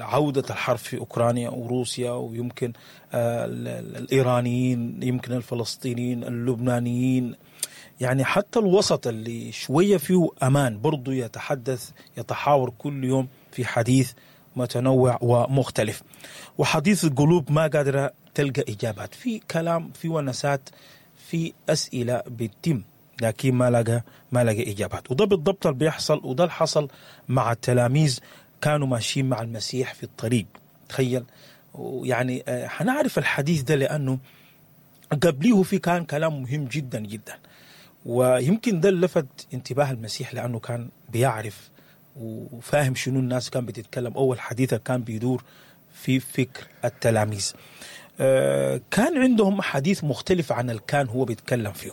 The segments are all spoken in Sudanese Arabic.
عودة الحرب في أوكرانيا وروسيا، ويمكن الإيرانيين، يمكن الفلسطينيين، اللبنانيين، يعني حتى الوسط اللي شوية فيه أمان برضو يتحدث يتحاور كل يوم في حديث متنوع ومختلف، وحديث القلوب ما قادرة تلقى إجابات، في كلام، في ونسات، في أسئلة بتتم لكن ما لقى إجابات. وده بالضبط اللي بيحصل، وده اللي حصل مع التلاميذ، كانوا ماشيين مع المسيح في الطريق. تخيل، ويعني حنعرف الحديث ده لأنه قبليه في كان كلام مهم جدا جدا، ويمكن ده اللي لفت انتباه المسيح لأنه كان بيعرف وفاهم شنو الناس كان بتتكلم، أول حديث كان بيدور في فكر التلاميذ. كان عندهم حديث مختلف عن اللي كان هو بيتكلم فيه،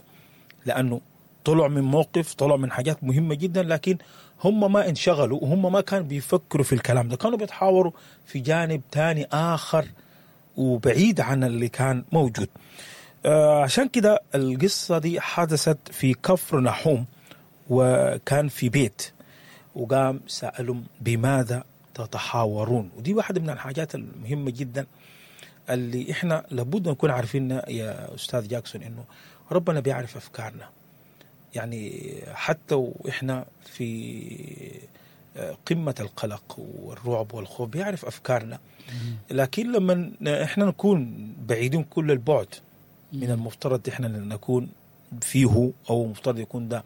لأنه طلع من موقف، طلع من حاجات مهمة جدا، لكن هم ما انشغلوا وهم ما كانوا بيفكروا في الكلام ده، كانوا بيتحاوروا في جانب تاني آخر وبعيد عن اللي كان موجود. عشان كده القصة دي حدثت في كفر نحوم، وكان في بيت، وقام سألهم بماذا تتحاورون. ودي واحدة من الحاجات المهمة جدا اللي احنا لابد نكون عارفين يا أستاذ جاكسون، إنه ربنا بيعرف أفكارنا، يعني حتى وإحنا في قمة القلق والرعب والخوف بيعرف أفكارنا، لكن لما إحنا نكون بعيدين كل البعد من المفترض إحنا نكون فيه، أو المفترض يكون ده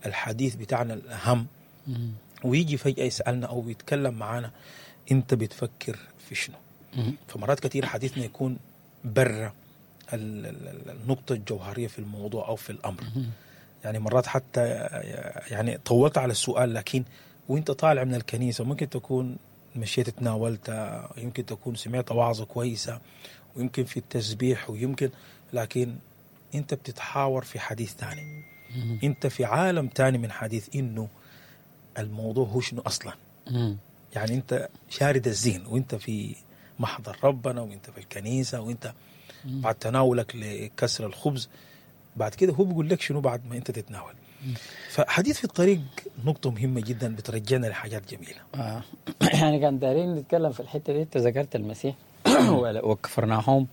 الحديث بتاعنا الأهم، ويجي فجأة يسألنا أو يتكلم معانا أنت بتفكر في شنو؟ فمرات كثير حديثنا يكون برا النقطة الجوهرية في الموضوع أو في الأمر. يعني مرات حتى يعني طولت على السؤال، لكن وانت طالع من الكنيسة ممكن تكون مشيت تناولت، يمكن تكون سمعت وعظة كويسة، ويمكن في التسبيح، ويمكن، لكن انت بتتحاور في حديث ثاني، انت في عالم تاني من حديث انه الموضوع هو شنو اصلا. يعني انت شارد الذهن وانت في محضر ربنا وانت في الكنيسة وانت بعد تناولك لكسر الخبز، بعد كده هو بيقول لك شنو بعد ما انت تتناول. فحديث في الطريق نقطة مهمة جدا بترجعنا لحاجات جميلة. يعني كان دارين نتكلم في الحتة دي، انت ذكرت المسيح وكفرناحوم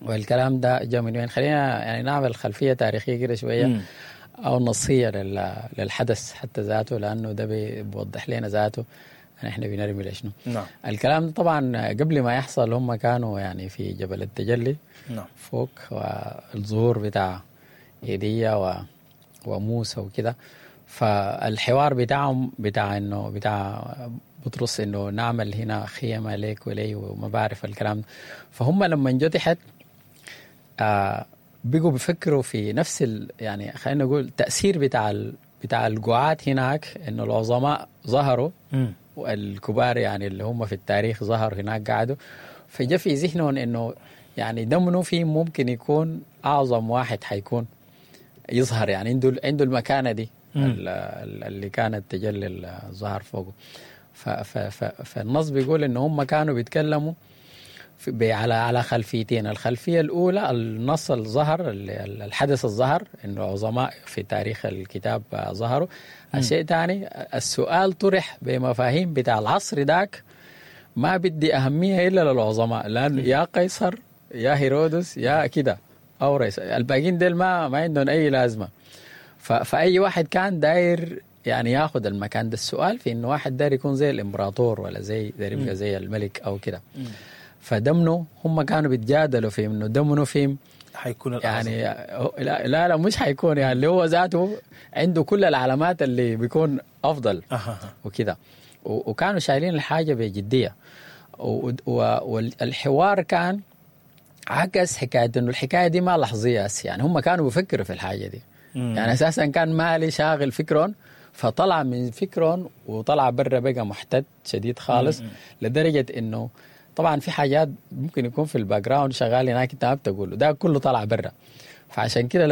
والكلام ده جاء من وين. خلينا يعني نعمل خلفية تاريخية كده شوية أو نصية للحدث حتى ذاته، لأنه ده بيوضح لنا ذاته احنا بنرمي لشنو. الكلام ده طبعا قبل ما يحصل هم كانوا يعني في جبل التجلي فوق، والظهور بتاع ايليا وموسى وكده. فالحوار بتاعهم بتاع انه بتاع بطرس انه نعمل هنا خيمة ليك ولي وما بعرف الكلام ده. فهم لما جو تحت بقوا بيفكروا في نفس يعني خلينا نقول تأثير بتاع القعاد هناك، انه العظماء ظهروا والكبار يعني اللي هم في التاريخ ظهروا هناك قعدوا، فجاء في ذهنهم انه يعني ده منو في ممكن يكون اعظم واحد حيكون يظهر، يعني عنده المكانة دي اللي كانت تجلي الظهر فوقه. فالنص بيقول ان هم كانوا بيتكلموا على خلفيتين. الخلفية الاولى النص الظهر، الحدث الظهر انه عظماء في تاريخ الكتاب ظهروا. الشيء الثاني السؤال طرح بمفاهيم بتاع العصر ذاك، ما بدي اهمية الا للعظماء، لانه يا قيصر يا هيرودس يا كده او رئيس، الباقيين ديل ما عندهم اي لازمه. فاي واحد كان داير يعني ياخذ المكان ده. السؤال في انه واحد داير يكون زي الامبراطور ولا زي داير يبقى زي الملك او كده. فده منو هم كانوا بيتجادلوا في انه ده منو فيهم حيكون الأعظم. يعني لا لا مش حيكون، يعني اللي هو ذاته عنده كل العلامات اللي بيكون افضل وكده. وكانوا شايلين الحاجة بجديه، والحوار كان عكس حكاية انه الحكاية دي ما لحظيه هسه، يعني هم كانوا بيفكروا في الحاجة دي. يعني اساسا كان مالي شاغل فكرهم، فطلع من فكرهم وطلع برا بقى محتد شديد خالص، لدرجة انه طبعا في حاجات ممكن يكون في ال background شغال هناك انت ما بتقوله، ده كله طلع برا. فعشان كده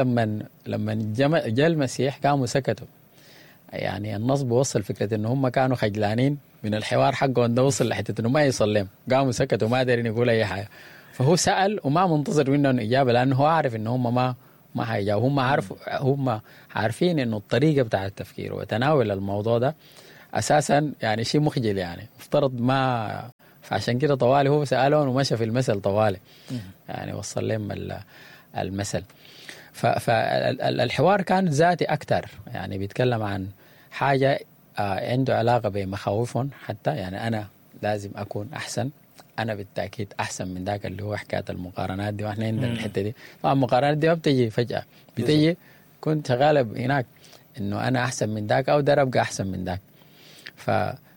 لما جاء المسيح قاموا سكتوا. يعني النص بوصل فكرة انه هم كانوا خجلانين من الحوار حقهم ده، وصل لحته انه ما يصل لهم، قاموا سكتوا ما دارين يقول اي حاجة. فهو سال وما منتظر منهم اجابه، لانه هو عارف انه هم ما حيجاوبوا. هم عارفين انه الطريقة بتاع التفكير وتناول الموضوع ده اساسا يعني شيء مخجل يعني، افترض ما، فعشان كده طوالي هو سالهم ومشى في المثل طوالي يعني وصل لهم المثل. فالحوار كان ذاتي اكثر، يعني بيتكلم عن حاجة عنده علاقة بمخاوفهم حتى، يعني انا لازم اكون احسن، انا بالتاكيد احسن من ذاك، اللي هو حكاية المقارنات دي. واحنا عندنا الحتة دي طبعا، المقارنات دي ما بتجي فجاة، بتجي كنت غالب هناك انه انا احسن من ذاك او ده ابقى احسن من ذاك.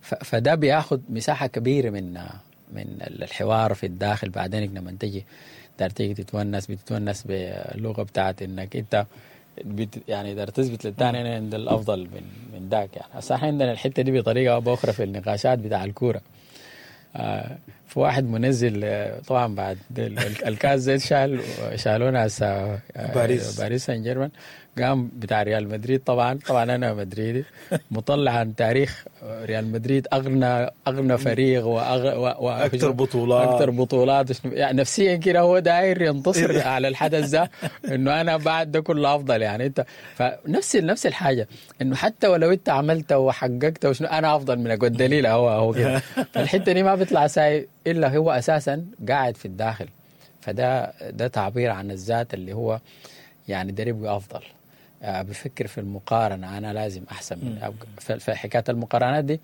فده بياخد مساحة كبيرة من الحوار في الداخل. بعدين لما تجي دار تيجي تتونس، بتتونس باللغة بتاعت انك انت يعني دار تثبت للثاني انا عند الافضل من ذاك يعني. هسه احنا عندنا الحتة دي بطريقة او باخرى في النقاشات بتاع الكورة. في واحد منزل طبعا بعد الكاس زي شالونا هسه باريس سان جيرمان، قام بتاع ريال مدريد، طبعا انا مدريدي، مطلع عن تاريخ ريال مدريد اغنى فريق واكثر بطولات، اكثر بطولات يعني نفسيا كده هو داير ينتصر على الحدث ده انه انا بعد ده كله افضل يعني. انت فنفس نفس الحاجة، انه حتى ولو انت عملت وحققت وشنو انا افضل منك، والدليل هو كده. فالحته دي ما بيطلع ساي الا هو اساسا قاعد في الداخل. فده ده تعبير عن الذات اللي هو يعني ده يبقى افضل، بفكر في المقارنة، أنا لازم أحسن من. فحكاية المقارنات دي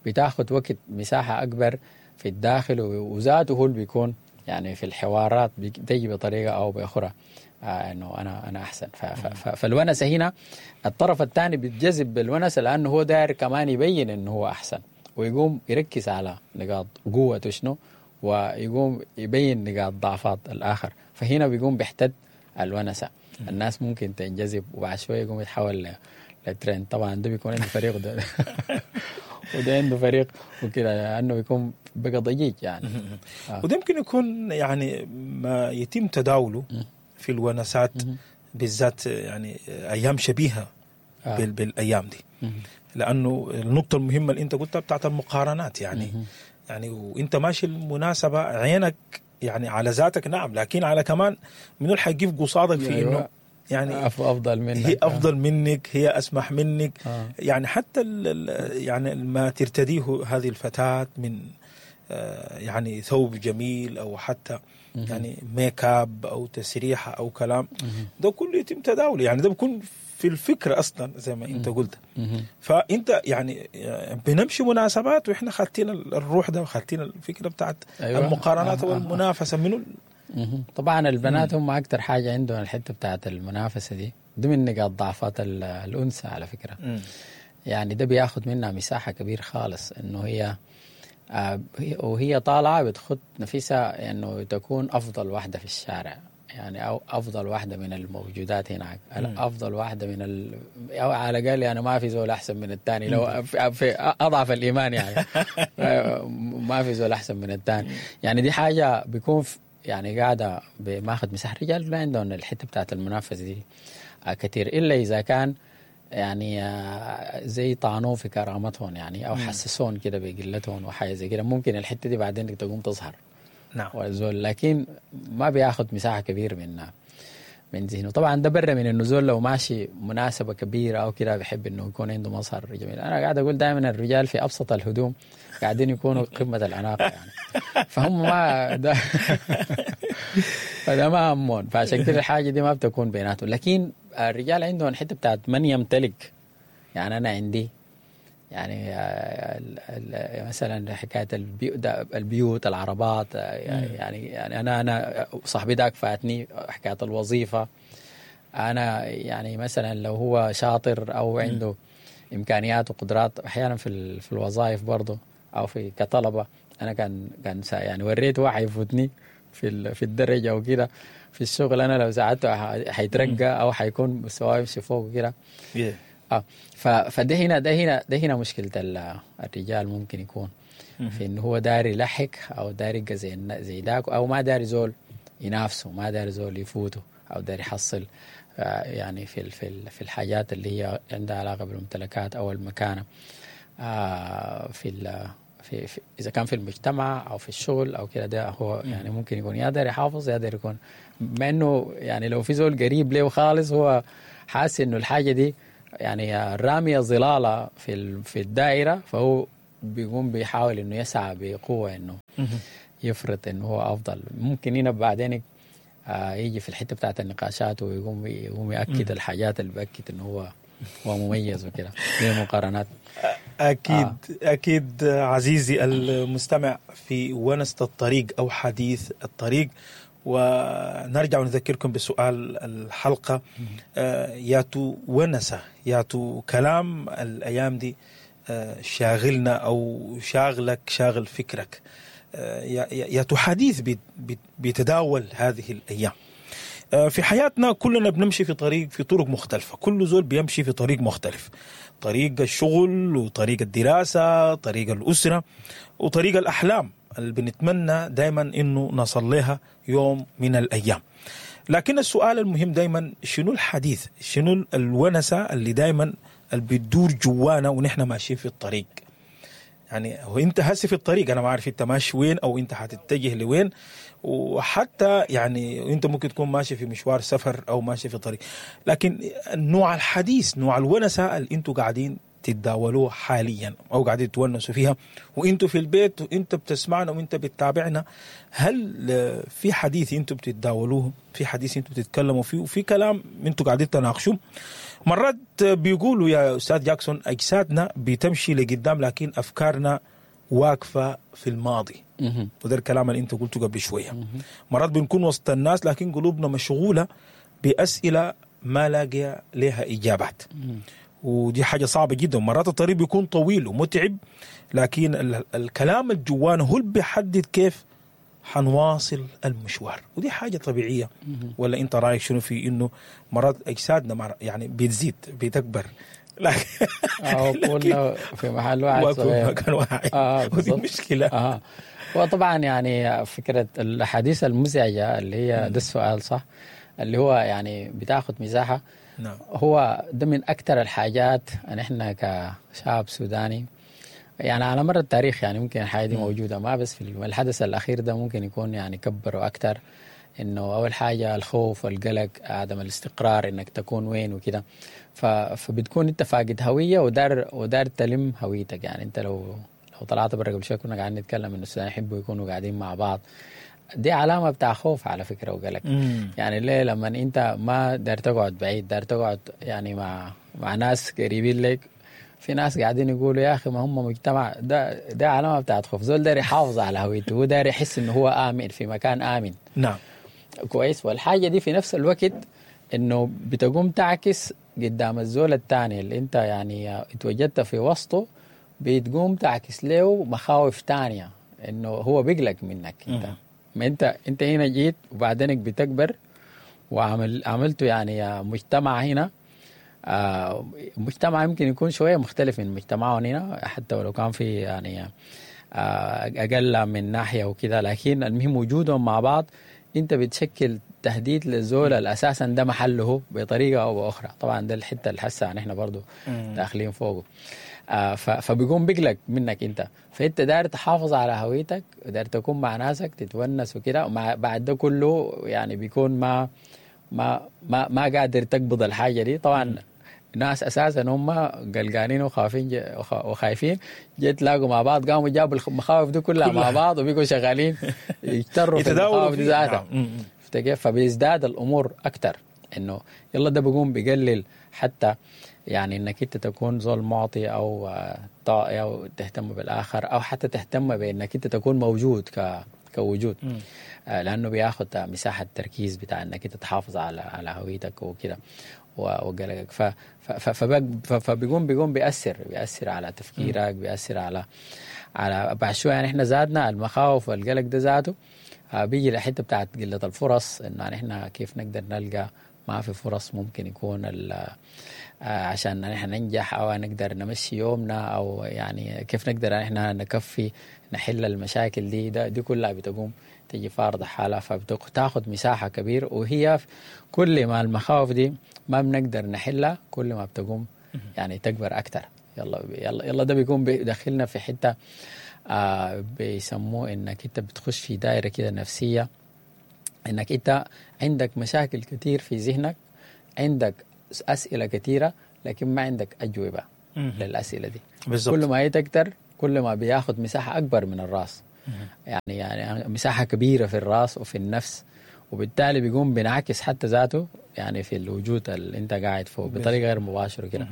بتاخد وقت، مساحة أكبر في الداخل، وذاته هو اللي بيكون يعني في الحوارات بتجي بطريقة أو بأخرى إنه أنا أحسن. فالونسة هنا الطرف الثاني بيتجذب بالونسة لأنه هو داير كمان يبين إنه هو أحسن، ويقوم يركز على نقاط قوته شنو، ويقوم يبين نقاط ضعفات الآخر. فهنا بيقوم بيحتد الونسة، الناس ممكن تنجذب، وبعد شوية يقوم يتحول لترند. طبعا ده بيكون عنده فريق ده وده عنده فريق وكده، لانه بيكون بقى ضجيج يعني. وده يمكن يكون يعني ما يتم تداوله في الونسات بالذات يعني ايام شبيهه بالايام دي، لانه النقطة المهمة اللي انت قلتها بتاعت المقارنات يعني. يعني وانت ماشي المناسبة عينك يعني على ذاتك، نعم، لكن على كمان منو اللي حيقف قصادك في انه أيوة. يعني افضل منك، هي افضل منك، هي اسمح منك. يعني حتى يعني ما ترتديه هذه الفتاة من يعني ثوب جميل او حتى يعني ميك اب او تسريحه او كلام، ده كله يتم تداوله يعني. ده بيكون في الفكرة اصلا زي ما انت قلت. فانت يعني بنمشي مناسبات واحنا خاتين الروح ده، وخاتين الفكرة بتاعت أيوة. المقارنات والمنافسه منو. طبعا البنات هم اكثر حاجة عندهم الحتة بتاعت المنافسة دي، دي من نقاط ضعفات الانثى على فكرة. يعني ده بياخد منها مساحة كبيرة خالص، انه هي وهي طالعه بتخط نفسها انه تكون افضل واحدة في الشارع يعني، او افضل واحدة من الموجودات هناك، افضل واحدة من او على الاقل يعني ما في زول احسن من الثاني، لو في اضعف الايمان يعني ما في زول احسن من الثاني يعني. دي حاجة بيكون يعني قاعدة بماخذ مساحة. الرجال ما عندهم الحتة بتاعت المنافسة دي كثير، الا اذا كان يعني زي طعنوه في كرامتهم يعني، او حسسون كده بقلتهم وحاجه زي كده، ممكن الحتة دي بعدين تقوم تظهر. نعم. والزول لكن ما بياخد مساحة كبيرة من ذهنه. طبعا ده برا من انه زول لو ماشي مناسبة كبيرة او كده بيحب انه يكون عنده مظهر جميل. انا قاعد اقول دائما الرجال في ابسط الهدوم قاعدين يكونوا قمة الاناقة يعني، فهم ما ده فده ما همون، فعشان كده الحاجة دي ما بتكون بيناتهم. لكن الرجال عندهم حتة بتاعت من يمتلك يعني. انا عندي يعني مثلا حكاية البيوت، العربات يعني انا صاحبي داك فاتني حكاية الوظيفة. انا يعني مثلا لو هو شاطر او عنده امكانيات وقدرات احيانا في الوظائف برضه او في كطلبه، انا كان يعني وريت واحد يفوتني في الدرجة وكده في الشغل، انا لو ساعدته حيترقى او حيكون مستواه يمشي فوق وكده. فده هنا ده هنا ده هنا مشكلة الرجال، ممكن يكون في انه هو داري يلحق او داري يبقى زي ذاك، او ما داري زول ينافسه، ما داري زول يفوته، او داري يحصل يعني في في الحاجات اللي هي عندها علاقة بالممتلكات او المكانة في في اذا كان في المجتمع او في الشغل او كده. ده هو يعني ممكن يكون يا داري يحافظ يا داري يكون، مع انه يعني لو في زول قريب له خالص هو حاسس انه الحاجة دي يعني رامية ظلالة في الدائرة، فهو بيقوم بيحاول انه يسعى بقوة انه يفرض انه هو افضل. ممكن هنا بعدين يجي في الحتة بتاعت النقاشات ويقوم يأكد الحاجات اللي بأكد انه هو مميز وكده، دي مقارنات. اكيد اكيد عزيزي المستمع في ونسة الطريق او حديث الطريق، ونرجع ونذكركم بسؤال الحلقة، ياتو ونسة ياتو كلام الأيام دي شاغلنا أو شاغلك، شاغل فكرك، ياتو حديث بيتداول هذه الأيام في حياتنا. كلنا بنمشي في طريق، في طرق مختلفة، كل زول بيمشي في طريق مختلف، طريق الشغل وطريق الدراسة، طريق الأسرة وطريق الأحلام اللي بنتمنى دايما انه نصل لها يوم من الايام. لكن السؤال المهم دايما، شنو الحديث، شنو الونسة اللي دايما اللي بتدور جوانا ونحن ماشيين في الطريق؟ يعني هو انت هسي في الطريق، انا ما عارف انت ماشي وين او انت حتتجه لوين، وحتى يعني انت ممكن تكون ماشي في مشوار سفر او ماشي في طريق، لكن نوع الحديث، نوع الونسة اللي انتوا قاعدين تتداولوه حاليا او قاعدين تونسوا فيها وانتوا في البيت وانت بتسمعنا وانت بتتابعنا، هل في حديث انتوا بتتداولوه، في حديث انتوا بتتكلموا فيه، وفي كلام انتوا قاعدين تناقشوه؟ مرات بيقولوا يا استاذ جاكسون اجسادنا بتمشي لقدام لكن افكارنا واقفة في الماضي، وده الكلام اللي انت قلته قبل شوية. مرات بنكون وسط الناس لكن قلوبنا مشغولة باسئلة ما لاقيه لها اجابات، ودي حاجة صعبة جدا. مرات الطريق بيكون طويل ومتعب، لكن الكلام الجوان هو اللي بيحدد كيف حنواصل المشوار، ودي حاجة طبيعية. ولا انت رايك شنو في انه مرات اجسادنا يعني بتزيد بتكبر، لكن كنا في محل واحد صغير، مكان واحد، ودي مشكلة. وطبعا يعني فكرة الأحاديث المزعجة اللي هي ده السؤال صح، اللي هو يعني بتاخد مساحة. نعم. هو ده من أكثر الحاجات أن إحنا كشعب سوداني يعني على مر التاريخ، يعني ممكن الحاجة دي موجودة، ما بس في الحدث الأخير ده ممكن يكون يعني كبروا أكثر. إنه أول حاجة الخوف والقلق، عدم الاستقرار، إنك تكون وين وكده، فبتكون أنت فاقد هوية ودار تلم هويتك. يعني أنت لو طلعت برا قبل شوي كنا قاعدين نتكلم إنه السودانيين يحبوا يكونوا قاعدين مع بعض، دي علامة بتاع خوف على فكرة وقلق. يعني ليه لما انت ما دار تقعد بعيد، دار تقعد يعني مع ناس قريبين لك، في ناس قاعدين يقولوا يا أخي ما هم مجتمع، ده علامة بتاعت خوف. زول دار يحافظ على هويته، هو دار يحس إنه هو آمن في مكان آمن. نعم كويس. والحاجة دي في نفس الوقت إنه بتقوم تعكس قدام الزول الثاني اللي انت يعني اتوجدت في وسطه، بتقوم تعكس له مخاوف تانية إنه هو بيقلق منك انت. ما انت هنا جيت وبعدينك بتكبر وعملته يعني مجتمع هنا، مجتمع يمكن يكون شوية مختلف من مجتمعهم هنا، حتى ولو كان في يعني أقل من ناحية وكذا، لكن المهم وجودهم مع بعض انت بتشكل تهديد للزول الأساسا ده محله بطريقة أو بأخرى. طبعا ده الحتة اللي حسها نحن برضو داخلين فوقه. فبيقوم بيقلق منك انت، فانت داير تحافظ على هويتك وداير تكون مع ناسك تتونس وكده، ومع بعد ده كله يعني بيكون ما ما ما ما قادر تقبض الحاجة دي. طبعا ناس اساسا هم قلقانين وخايفين وخايفين، جيت تلاقوا مع بعض قاموا جابوا المخاوف دي كلها مع بعض وبيقوا شغالين يجتروا في المخاوف دي ذاتها. فبيزداد الامور اكثر، انه يلا ده بيقوم بيقلل حتى يعني انك انت تكون زول معطي او طائع او تهتم بالاخر، او حتى تهتم بانك انت تكون موجود كوجود، لانه بياخذ مساحة تركيز بتاع انك انت تحافظ على هويتك وكده وقلقك. فبيقوم بيأثر على تفكيرك، بيأثر على بعد شوية. يعني احنا زادنا المخاوف والقلق ده ذاته بيجي لحته بتاعت قلة الفرص، انه يعني احنا كيف نقدر نلقى، ما في فرص ممكن يكون عشان نحن ننجح او نقدر نمشي يومنا، او يعني كيف نقدر احنا نكفي نحل المشاكل دي. دي كلها بتقوم تجي فارضة حالها، فبتاخد مساحة كبيرة، وهي كل ما المخاوف دي ما بنقدر نحلها كل ما بتقوم يعني تكبر أكتر. يلا يلا يلا ده بيكون بيدخلنا في حتة بيسموه إنك أنت بتخش في دائرة كده نفسية، إنك أنت عندك مشاكل كتير في ذهنك، عندك أسئلة كتيرة، لكن ما عندك اجوبه للاسئلة دي. بالزبط. كل ما هي تكتر كل ما بياخد مساحة اكبر من الراس، يعني مساحة كبيرة في الراس وفي النفس، وبالتالي بيقوم بينعكس حتى ذاته يعني في الوجود اللي انت قاعد فوق بطريقة غير مباشرة كده.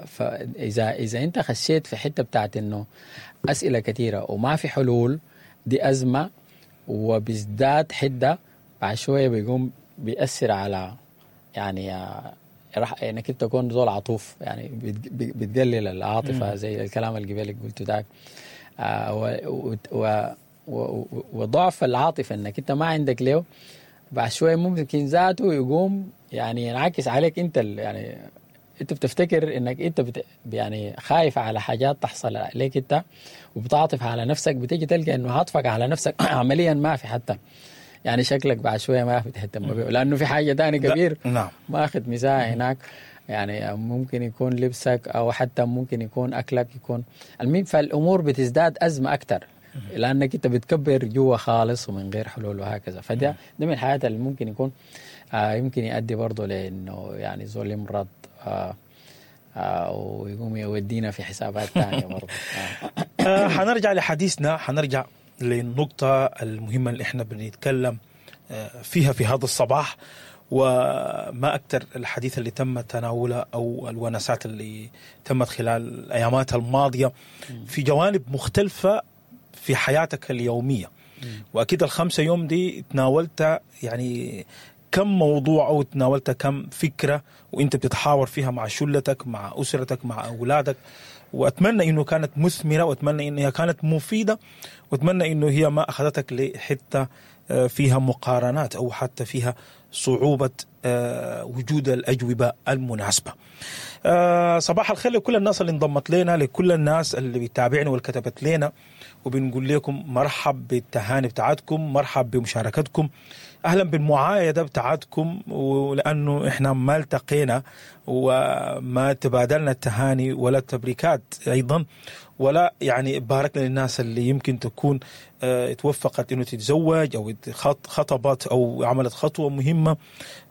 فاذا انت خشيت في حتة بتاعت انه اسئلة كثيرة وما في حلول، دي ازمة وبيزداد حده بعد شوية، بيقوم بيأثر على يعني راح انك انت تكون زول عطوف، يعني بتقلل العاطفة زي الكلام اللي قبلك قلته ذاك، وضعف العاطفة انك انت ما عندك له بعد شوية ممكن ذاته يقوم يعني ينعكس عليك انت، يعني انت بتفتكر انك انت يعني خايف على حاجات تحصل عليك انت وبتعاطف على نفسك، بتيجي تلقى انه عاطفك على نفسك عمليا ما في، حتى يعني شكلك بعد شوية ما بتهتم به لانه في حاجة ثانية كبير ماخذ مساحة هناك، يعني ممكن يكون لبسك او حتى ممكن يكون اكلك، يكون المهم. فالامور بتزداد ازمة اكثر لانك انت بتكبر جوا خالص ومن غير حلول وهكذا. فده ده من الحاجات اللي ممكن يكون يمكن يؤدي برضه لانه يعني زول يمرض ويقوم يودينا في حسابات ثانية برضه. حنرجع لحديثنا، حنرجع للنقطة المهمة اللي احنا بنتكلم فيها في هذا الصباح، وما أكثر الحديث اللي تم تناوله أو الونسات اللي تمت خلال الأيامات الماضية في جوانب مختلفة في حياتك اليومية. وأكيد ال5 يوم دي تناولت يعني كم موضوع أو تناولت كم فكرة وإنت بتتحاور فيها مع شلتك، مع أسرتك، مع أولادك، وأتمنى إنه كانت مثمرة، وأتمنى إنها كانت مفيدة، وأتمنى إنه هي ما أخذتك لحتة فيها مقارنات أو حتى فيها صعوبة وجود الأجوبة المناسبة. صباح الخير لكل الناس اللي انضمت لنا، لكل الناس اللي بيتابعنا واللي كتبت لنا، وبنقول لكم مرحب بالتهاني بتاعتكم، مرحب بمشاركتكم، أهلا بالمعايدة بتاعتكم، ولأنه إحنا ما التقينا وما تبادلنا التهاني ولا التبريكات أيضا، ولا يعني باركنا للناس اللي يمكن تكون توفقت إنه تتزوج أو خطبت أو عملت خطوة مهمة.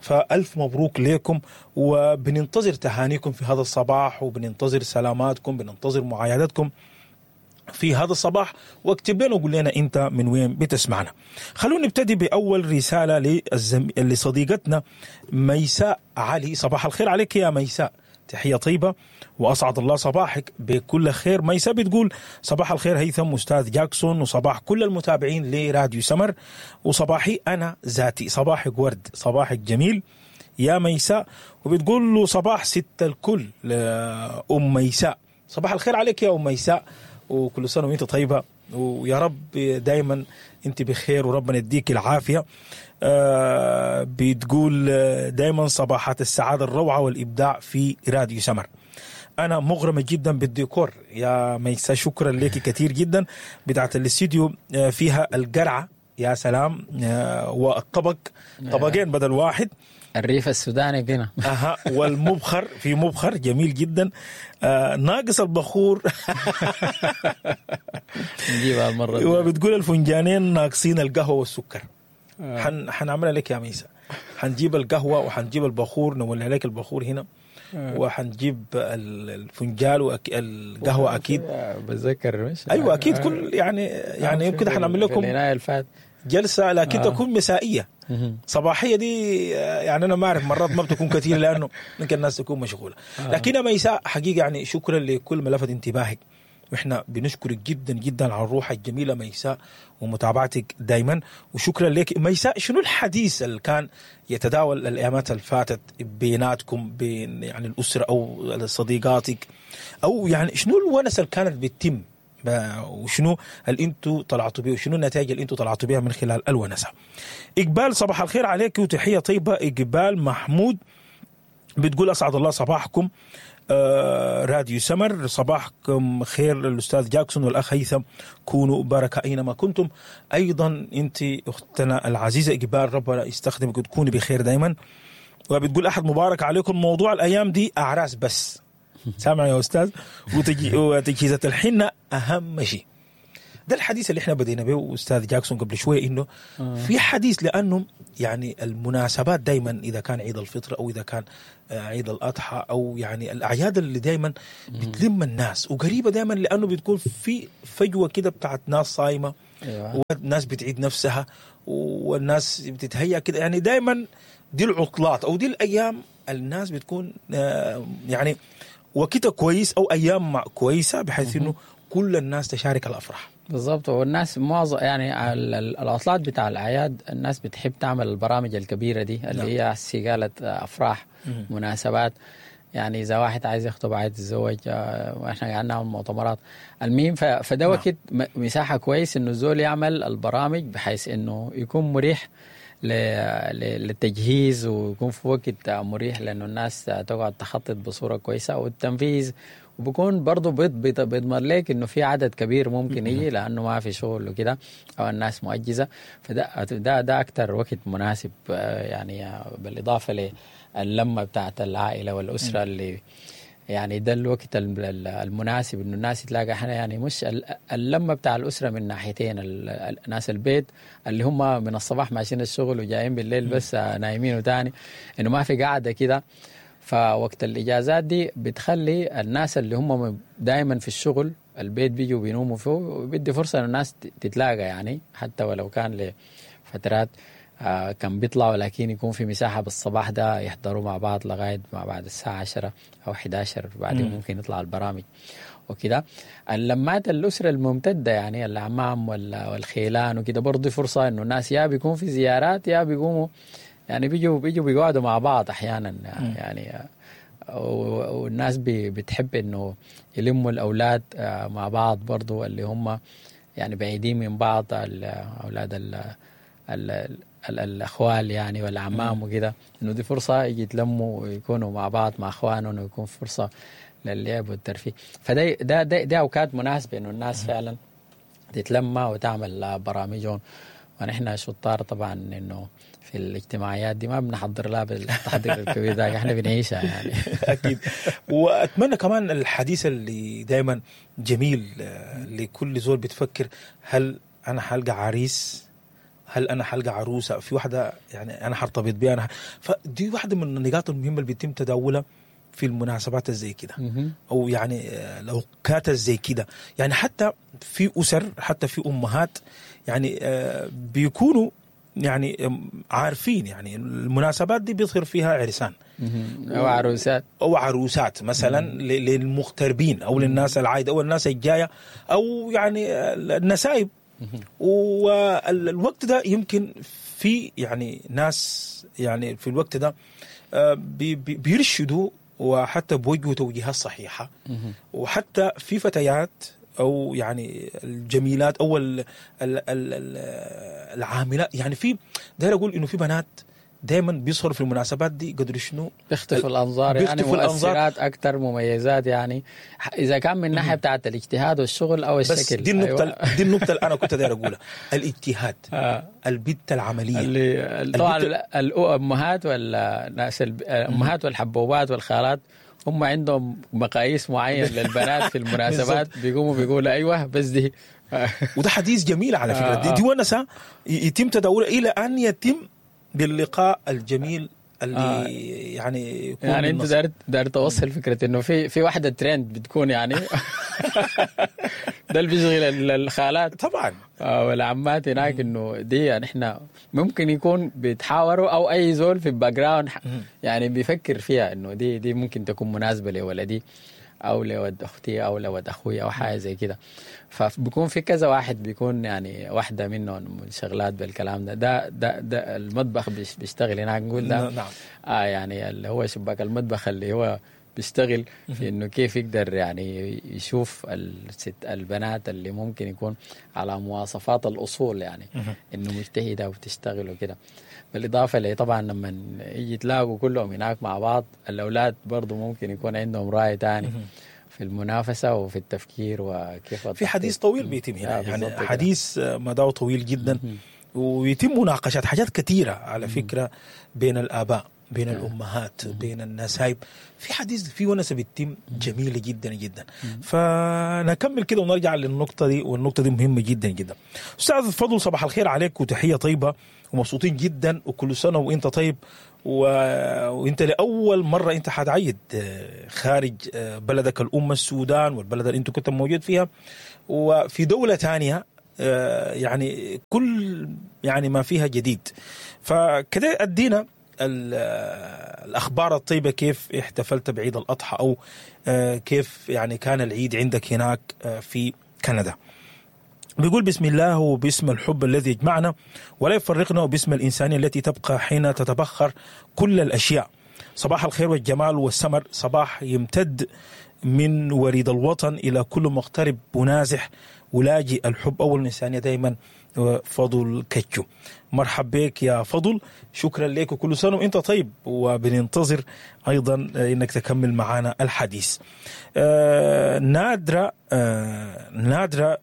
فألف مبروك لكم، وبننتظر تهانيكم في هذا الصباح، وبننتظر سلاماتكم، بننتظر معايدتكم في هذا الصباح، واكتب لنا وقول لنا انت من وين بتسمعنا. خلونا نبتدي باول رسالة لصديقتنا ميساء علي. صباح الخير عليك يا ميساء، تحية طيبة واسعد الله صباحك بكل خير. ميساء بتقول صباح الخير هيثم استاذ جاكسون، وصباح كل المتابعين لراديو سمر، وصباحي انا ذاتي. صباحك ورد، صباحك جميل يا ميساء. وبتقول له صباح ست الكل لأم ميساء. صباح الخير عليك يا ام ميساء، وكل سنة وانت طيبة، ويا رب دايما انت بخير وربنا يديك العافية. بتقول دايما صباحات السعادة الروعة والإبداع في راديو سمر. أنا مغرمة جدا بالديكور يا ميساء، شكرا لك كثير جدا. بتاعت الاستديو فيها القرعة يا سلام، والطبق طبقين بدل واحد، الريف السوداني هنا. اها، والمبخر، في مبخر جميل جدا، ناقص البخور نجيبها المرة. وبتقول الفنجانين ناقصين القهوة والسكر. حنعملها لك يا ميسا، حنجيب القهوة وحنجيب البخور، نولع لك البخور هنا، وحنجيب الفنجال والقهوة أكيد. بتذكر مش؟ أيوة أكيد، كل يعني يمكن حنعمل لكم جلسة، لكن تكون مسائية. صباحية دي يعني أنا ما أعرف، مرات ما بتكون كثير لأنه ممكن الناس تكون مشغولة. لكن ميساء حقيقة يعني شكرا لكل ما لفت انتباهك، وإحنا بنشكرك جدا جدا على الروح الجميلة ميساء ومتابعتك دايما، وشكرا لك ميساء. شنو الحديث اللي كان يتداول الأيامات اللي فاتت بيناتكم، بين يعني الأسرة أو صديقاتك، أو يعني شنو الونس اللي كانت بتتم، وشنو اللي انتوا طلعتوا بيه، وشنو النتائج اللي انتوا طلعتوا بيها من خلال الونسة؟ إقبال صباح الخير عليك وتحية طيبة. إقبال محمود بتقول أسعد الله صباحكم راديو سمر، صباحكم خير الأستاذ جاكسون والأخ هيثم، كونوا بركة أينما كنتم. أيضا أنت أختنا العزيزة إقبال، ربنا يستخدمك وتكوني بخير دايما. وبتقول أحد مبارك عليكم، موضوع الأيام دي أعراس بس، سامع يا أستاذ، وتجهيزات الحنة أهم شيء. ده الحديث اللي احنا بدينا به استاذ جاكسون قبل شوية، انه في حديث لانه يعني المناسبات دائما اذا كان عيد الفطر او اذا كان عيد الاضحى او يعني الاعياد اللي دائما بتلم الناس وقريبه دائما، لانه بتكون في فجوة كده بتاعت ناس صايمه. أيوة. والناس بتعيد نفسها والناس بتتهيأ كده، يعني دائما دي العطلات او دي الايام الناس بتكون يعني وقتها كويس او ايام كويسة بحيث انه كل الناس تشارك الافراح. بالضبط. والناس معظم يعني العطلات بتاع الاعياد الناس بتحب تعمل البرامج الكبيرة دي اللي هي هسي قالت افراح، مناسبات، يعني اذا واحد عايز يخطب، عايز يتزوج، واحنا قاعدين نعمل مؤتمرات. المهم فده وقت مساحة كويس انه الزول يعمل البرامج بحيث انه يكون مريح للتجهيز، ويكون في وقت مريح لانه الناس تقعد تخطط بصورة كويسة والتنفيذ، وبكون برضه بيضمن لك انه في عدد كبير ممكن يجي لانه ما في شغل وكده او الناس مؤجزه. فده ده ده اكثر وقت مناسب، يعني بالاضافة للمه بتاعت العائلة والاسرة اللي يعني ده الوقت المناسب انه الناس تلاقى. احنا يعني مش اللمة بتاع الاسرة من ناحيتين، ناس البيت اللي هم من الصباح ماشيين الشغل وجايين بالليل بس نايمين، وتاني انه ما في قاعدة كده. فوقت الاجازات دي بتخلي الناس اللي هم دائما في الشغل البيت بيجوا بينوموا فيه، وبيدي فرصة ان الناس تتلاقى، يعني حتى ولو كان لفترات كان بيطلعوا، لكن يكون في مساحة بالصباح ده يحضروا مع بعض لغاية ما بعد الساعة 10 أو 11، بعدين ممكن يطلع البرامج وكده. اللمات الأسرة الممتدة يعني الأعمام والخيلان وكده برضه فرصة إنه الناس يا بيكون في زيارات يا بيقوموا يعني بيجوا بيقعدوا مع بعض أحيانا يعني. والناس بتحب إنه يلموا الأولاد مع بعض برضه اللي هم يعني بعيدين من بعض، الأولاد الاخوال يعني والعمام وكده، انه دي فرصة يجي يتلموا ويكونوا مع بعض مع اخوانهم، ويكون فرصة للعب والترفيه. فده ده ده, ده اوقات مناسبة انه الناس فعلا تتلمى وتعمل برامجهم. ونحن شطار طبعا انه في الاجتماعيات دي ما بنحضر لها بالتحضير الكبير ده، احنا بنعيشها يعني. اكيد. واتمنى كمان الحديث اللي دائما جميل لكل زول بتفكر، هل انا حلقى عريس؟ هل انا حلقى عروسه؟ في واحدة يعني انا حرتبط بيها انا. فدي واحدة من النقاط المهمة اللي بيتم تداولها في المناسبات زي كده، او يعني الاوقات زي كده. يعني حتى في اسر، حتى في امهات يعني بيكونوا يعني عارفين يعني المناسبات دي بيظهر فيها عرسان او عروسات، او عروسات مثلا للمغتربين او للناس العايده او الناس الجاية او يعني النسايب. والوقت ده يمكن في يعني ناس يعني في الوقت ده بيرشدوا وحتى بوجهوا توجيهات صحيحة، وحتى في فتيات أو يعني الجميلات أو العاملات، يعني في داير أقول إنه في بنات دائما بيظهروا في المناسبات دي قدر شنو بيختفوا الانظار، يعني مؤثرات اكثر، مميزات، يعني اذا كان من ناحية بتاعت الاجتهاد والشغل او الشكل. بس دي النقطة. أيوة. دي النقطة اللي انا كنت داير اقولها، الاجتهاد. البت العملية اللي طبعا الامهات والناس، الامهات والحبوبات والخالات هم عندهم مقاييس معين للبنات في المناسبات، بيقوموا بيقولوا ايوه بس دي. وده حديث جميل على فكرة. دي ونسه يتم تداولها الى ان يتم باللقاء الجميل اللي يعني يكون. يعني انت داير توصل فكرة انه في واحدة ترند بتكون يعني ده اللي بيشغل الخالات طبعا والعمات هناك، انه دي يعني احنا ممكن يكون بيتحاوروا او اي زول في ال background يعني بيفكر فيها انه دي ممكن تكون مناسبة لولدي او لود اختي او لود اخوي او حاجة زي كده. فبيكون في كذا واحد بيكون يعني واحدة منهم منشغلات بالكلام ده. ده ده, ده المطبخ بيشتغل هناك، نقول ده. نعم. يعني اللي هو شباك المطبخ اللي هو بيشتغل في انه كيف يقدر يعني يشوف الست البنات اللي ممكن يكون على مواصفات الاصول، يعني انه مجتهدة وبتشتغل وكده. بالاضافة لي طبعا لما يجي تلاقوا كلهم هناك مع بعض، الاولاد برضو ممكن يكون عندهم راي تاني في المنافسة وفي التفكير وكيف. في حديث طويل بيتم هنا، يعني حديث مداه طويل جدا، ويتم مناقشات حاجات كثيرة على فكرة بين الاباء. بين الامهات، بين النسايب، في حديث، في ونسه بتتم جميلة جدا جدا. فنكمل كده ونرجع للنقطة دي، والنقطة دي مهمة جدا جدا. استاذ فضل، صباح الخير عليك وتحية طيبة ومبسوطين جدا، وكل سنة وانت طيب. وانت لاول مرة انت حتعيد خارج بلدك الام السودان والبلد اللي انت كنت موجود فيها، وفي دولة ثانية، يعني كل يعني ما فيها جديد. فكده ادينا الاخبار الطيبه، كيف احتفلت بعيد الاضحى، او كيف يعني كان العيد عندك هناك في كندا؟ بيقول: بسم الله وباسم الحب الذي يجمعنا ولا يفرقنا، وباسم الإنسانية التي تبقى حين تتبخر كل الأشياء. صباح الخير والجمال والسمر، صباح يمتد من وريد الوطن إلى كل مغترب ونازح ولاجئ. الحب أول، الإنسانية دائما. فضل كتشو، مرحب بك يا فضل، شكرا لك وكل سنة وانت طيب، وبننتظر أيضا انك تكمل معنا الحديث. نادرة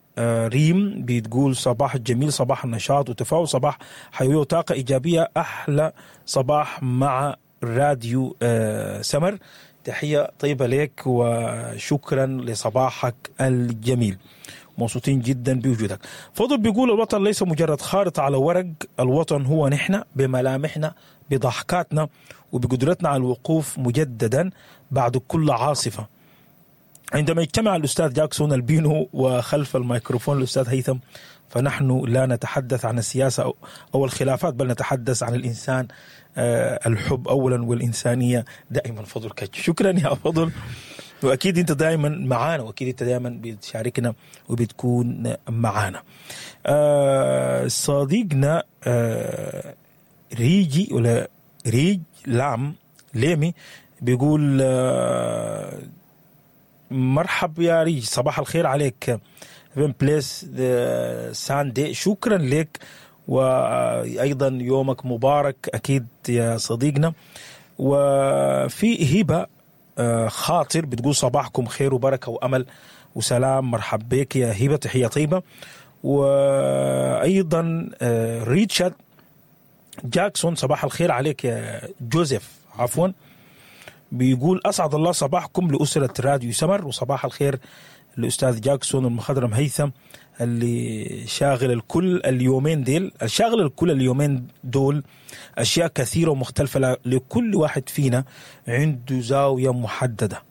ريم بتقول: صباح الجميل، صباح النشاط وتفاؤل، صباح حيوية وطاقة إيجابية، أحلى صباح مع راديو سمر. تحية طيبة لك وشكرا لصباحك الجميل، مبسوطين جدا بوجودك. فضل بيقول: الوطن ليس مجرد خارطة على ورق، الوطن هو نحن بملامحنا، بضحكاتنا، وبقدرتنا على الوقوف مجددا بعد كل عاصفة. عندما يجتمع الأستاذ جاكسون البينو وخلف الميكروفون الأستاذ هيثم، فنحن لا نتحدث عن السياسة أو الخلافات، بل نتحدث عن الإنسان. الحب أولا والإنسانية دائما. فضل كتش، شكرا يا فضل، واكيد انت دائما معانا، واكيد انت دائما بتشاركنا وبتكون معانا. صديقنا ريجي ولا ريج لام ليمي بيقول مرحب يا ريج، صباح الخير عليك، blessed Sunday. شكرا لك وايضا يومك مبارك اكيد يا صديقنا. وفي هبه خاطر بتقول: صباحكم خير وبركة وامل وسلام. مرحب بك يا هبه، تحية طيبه. وايضا ريتشارد جاكسون، صباح الخير عليك يا جوزيف عفوا، بيقول: اسعد الله صباحكم لاسرة راديو سمر، وصباح الخير الاستاذ جاكسون المخضرم هيثم اللي شاغل الكل اليومين ديل. شاغل الكل اليومين دول اشياء كثيرة ومختلفه، لكل واحد فينا عنده زاوية محددة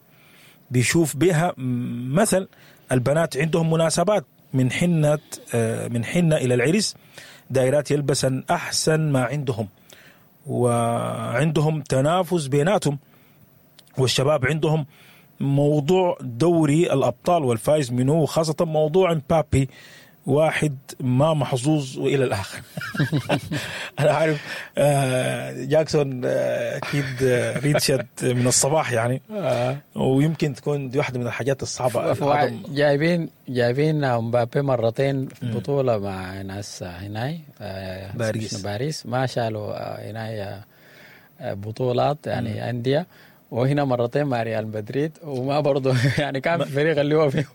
بيشوف بها. مثل البنات عندهم مناسبات من حنة الى العرس، دايرات يلبسن احسن ما عندهم وعندهم تنافس بيناتهم، والشباب عندهم موضوع دوري الابطال والفايز منه، وخاصة موضوع مبابي، واحد ما محظوظ والى الاخر. انا عارف جاكسون اكيد ريتشارد من الصباح يعني، ويمكن تكون دي واحدة من الحاجات الصعبه. جايبين مبابي مرتين في بطوله مع ناس هناي باريس. باريس ما شالوا هناي بطولات يعني انديه، وهنا مرتين مع ريال مدريد وما برضه يعني كان في فريق اللي هو فيه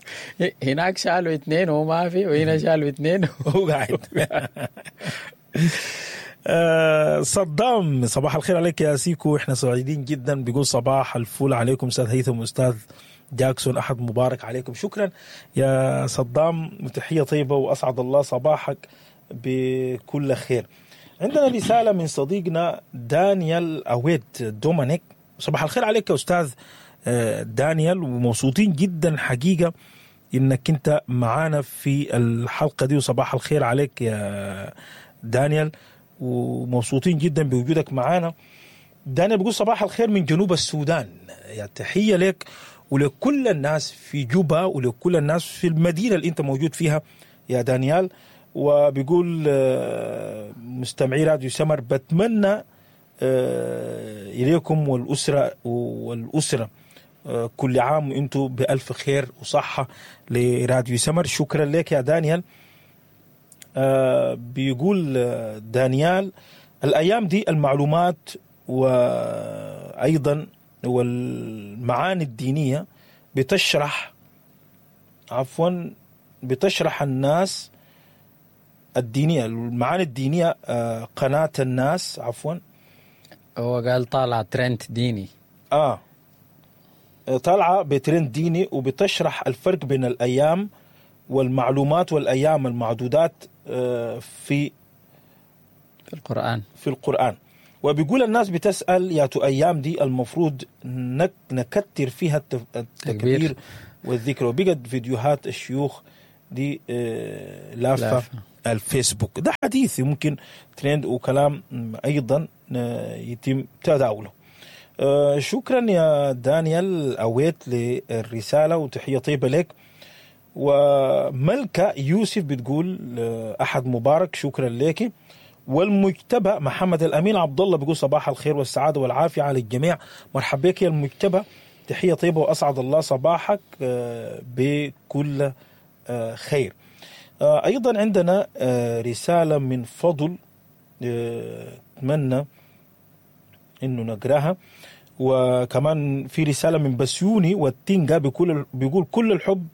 هناك شالوا اثنين وهو ما في، وهنا شالوا اثنين. وهو قاعد. صدام، صباح الخير عليك يا سيكو، احنا سعيدين جدا. بيقول: صباح الفل عليكم استاذ هيثم واستاذ جاكسون، احد مبارك عليكم. شكرا يا صدام وتحية طيبة واسعد الله صباحك بكل خير. عندنا رسالة من صديقنا دانيال اويد دومينيك. صباح الخير عليك يا استاذ دانيال، ومبسوطين جدا حقيقة انك انت معانا في الحلقة دي، وصباح الخير عليك يا دانيال ومبسوطين جدا بوجودك معانا. دانيال بيقول: صباح الخير من جنوب السودان. يا تحية لك ولكل الناس في جوبا ولكل الناس في المدينة اللي انت موجود فيها يا دانيال. وبيقول مستمعي راديو سمر، بتمنى اليكم والاسره كل عام وانتم بالف خير وصحة لراديو سمر. شكرا لك يا دانيال. بيقول دانيال: الايام دي المعلومات وايضا والمعاني الدينية بتشرح، عفوا، بتشرح الناس الدينيه، المعاني الدينيه، قناة الناس، عفوا. هو قال طالع ترند ديني. طالعة بترند ديني وبتشرح الفرق بين الأيام والمعلومات والأيام المعدودات في القرآن. في القرآن. وبيقول الناس بتسأل ياتو أيام دي المفروض نكتر فيها التكبير والذكر. وبقت فيديوهات الشيوخ دي لافة الفيسبوك. ده حديث ممكن ترند وكلام أيضا يتم تداوله. شكرا يا دانيال أويت للرسالة وتحية طيبة لك. وملكة يوسف بتقول أحد مبارك، شكرا لك. والمجتبى محمد الأمين عبد الله بيقول صباح الخير والسعادة والعافية على الجميع. مرحبا بك يا المجتبى، تحية طيبة وأسعد الله صباحك بكل خير. أيضا عندنا رسالة من فضل، أتمنى إنه نقراها. وكمان في رسالة من بسيوني والتينجا بيقول كل الحب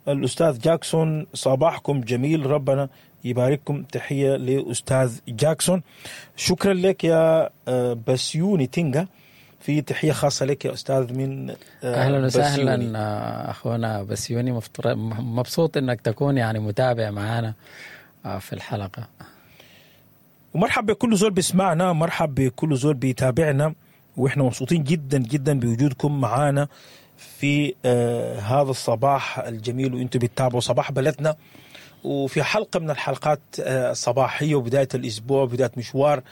الأستاذ جاكسون، صباحكم جميل، ربنا يبارككم. تحية لأستاذ جاكسون، شكرا لك يا بسيوني تينجا. في تحية خاصة لك يا أستاذ من أهلا وسهلا أخونا بسيوني، مبسوط أنك تكون يعني متابع معنا في الحلقة. ومرحب بكل زول بيسمعنا، مرحب بكل زول بيتابعنا، وإحنا مبسوطين جدا جدا بوجودكم معانا في هذا الصباح الجميل، وإنتم بتتابعوا صباح بلدنا وفي حلقة من الحلقات الصباحية وبداية الأسبوع وبداية مشوار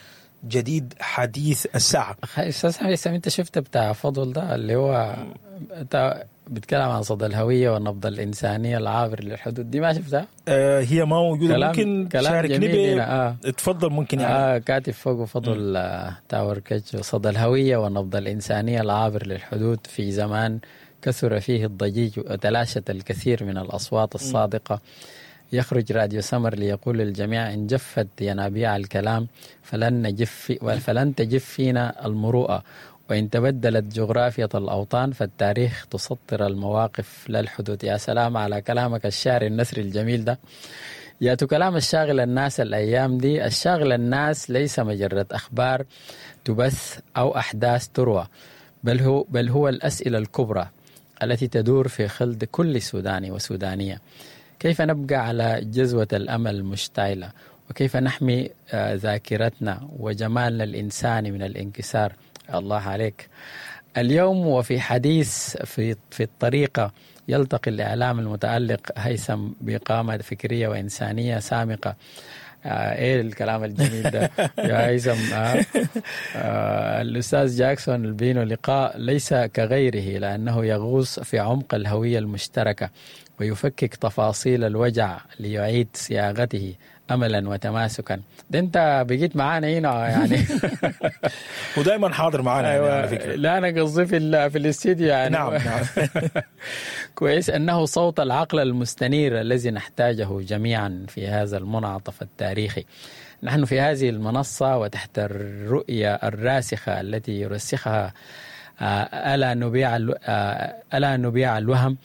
جديد حديث الساعة. أستاذ حسام، أنت شفت بتاع فضل ده اللي هو أنت بتكلم عن صدى الهوية والنبض الإنسانية العابر للحدود، دي ما شفتها؟ هي ما موجودة. ممكن تشاركني اتفضل. ممكن يعني كاتب فوق فضل تاور كتش، صدى الهوية والنبض الإنسانية العابر للحدود في زمان كثر فيه الضجيج وتلاشت الكثير من الأصوات الصادقة. يخرج راديو سمر ليقول للجميع إن جفت ينابيع الكلام فلن تجف فينا المروءة، وإن تبدلت جغرافية الأوطان فالتاريخ تسطر المواقف لا الحدود. يا سلام على كلامك الشعري النثري الجميل ده. يا كلام الشاغل الناس الأيام دي. الشاغل الناس ليس مجرد أخبار تبث أو أحداث تروى، بل هو الأسئلة الكبرى التي تدور في خلد كل سوداني وسودانية. كيف نبقى على جذوة الأمل المشتعلة؟ وكيف نحمي ذاكرتنا وجمالنا الإنساني من الانكسار؟ الله عليك. اليوم وفي حديث في الطريقة يلتقي الإعلام المتألق هيثم بقامة فكرية وإنسانية سامقة. إيه الكلام الجميل ده يا هيثم؟ الأستاذ جاكسون البينو لقاء ليس كغيره، لأنه يغوص في عمق الهوية المشتركة ويفكك تفاصيل الوجع ليعيد صياغته أملا وتماسكا. ده أنت بقيت معانا هنا يعني. ودائما حاضر معانا. أيوة. يعني على فكرة لا أنا قصدي في الاستديو يعني. نعم نعم. كويس. أنه صوت العقل المستنير الذي نحتاجه جميعا في هذا المنعطف التاريخي. نحن في هذه المنصة وتحت الرؤية الراسخة التي يرسخها ألا نبيع الوهم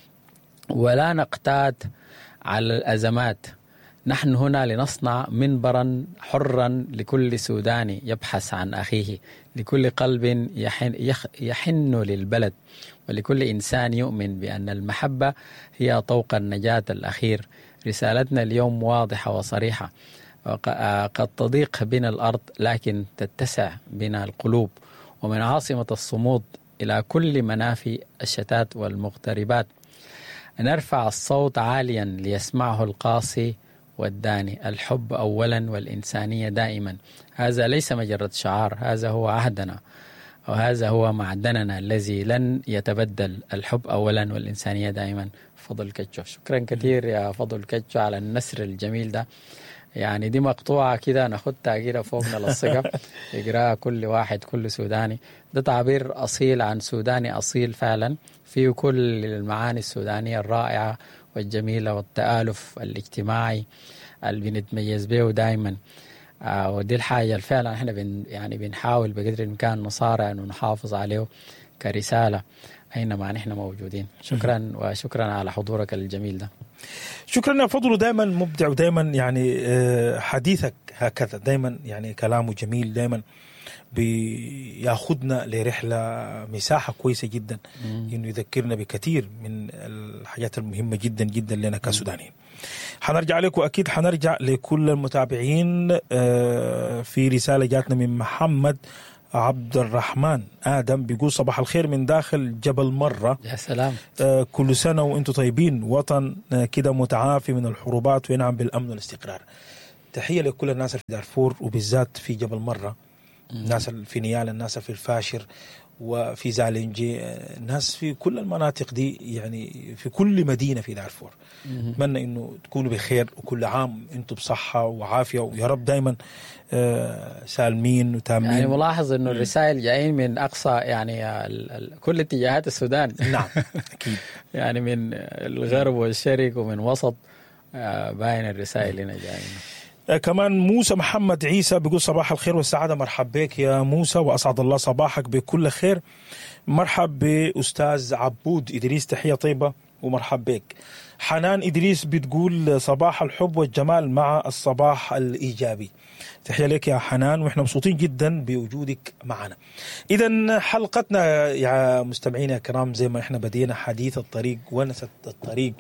ولا نقتات على الأزمات. نحن هنا لنصنع منبرا حرا لكل سوداني يبحث عن أخيه، لكل قلب يحن للبلد، ولكل إنسان يؤمن بأن المحبة هي طوق النجاة الأخير. رسالتنا اليوم واضحة وصريحة، قد تضيق بنا الأرض لكن تتسع بنا القلوب. ومن عاصمة الصمود إلى كل منافي الشتات والمغتربات نرفع الصوت عاليا ليسمعه القاصي والداني. الحب أولا والإنسانية دائما. هذا ليس مجرد شعار، هذا هو عهدنا وهذا هو معدننا الذي لن يتبدل. الحب أولا والإنسانية دائما. فضل كتشو، شكرا كثير يا فضل كتشو على النثر الجميل ده. يعني دي مقطوعة كده ناخدها كده فوق نلصقها يقراها كل واحد، كل سوداني. ده تعبير أصيل عن سوداني أصيل فعلا، فيه كل المعاني السودانية الرائعة والجميلة والتآلف الاجتماعي اللي بنتميز به دائما. ودي الحاجة فعلا احنا يعني بنحاول بقدر الإمكان نصارع انه نحافظ عليه كرسالة. أينما نحن موجودين. شكرا، وشكرا على حضورك الجميل ده. شكرا يا فضل، دائما مبدع ودائما يعني حديثك هكذا دائما يعني كلامه جميل، دائما بياخدنا لرحلة مساحة كويسة جدا، انه يذكرنا بكثير من الحاجات المهمة جدا جدا لنا كسودانيين. حنرجع لكم اكيد، حنرجع لكل المتابعين. في رسالة جاتنا من محمد عبد الرحمن آدم بيقول صباح الخير من داخل جبل مرة. يا سلام. كل سنة وانتم طيبين، وطن كده متعافي من الحروبات وينعم بالأمن والاستقرار. تحية لكل الناس في دارفور وبالذات في جبل مرة، الناس في نيال، الناس في الفاشر وفي زالنجي، الناس في كل المناطق دي، يعني في كل مدينة في دارفور. أتمنى إنه تكونوا بخير وكل عام أنتم بصحة وعافية، ويا رب دايما سالمين وتامين. يعني ملاحظ إنه الرسائل جايين من أقصى يعني كل اتجاهات السودان. نعم أكيد. يعني من الغرب والشرق ومن وسط، باين الرسائل هنا جايين. كمان موسى محمد عيسى بيقول صباح الخير والسعادة. مرحب بك يا موسى وأسعد الله صباحك بكل خير. مرحب بأستاذ عبود إدريس، تحية طيبة ومرحب بك. حنان إدريس بتقول صباح الحب والجمال مع الصباح الإيجابي. تحية لك يا حنان، وإحنا مبسوطين جدا بوجودك معنا. إذن حلقتنا يا مستمعينا الكرام زي ما إحنا بدينا حديث الطريق ونسة الطريق،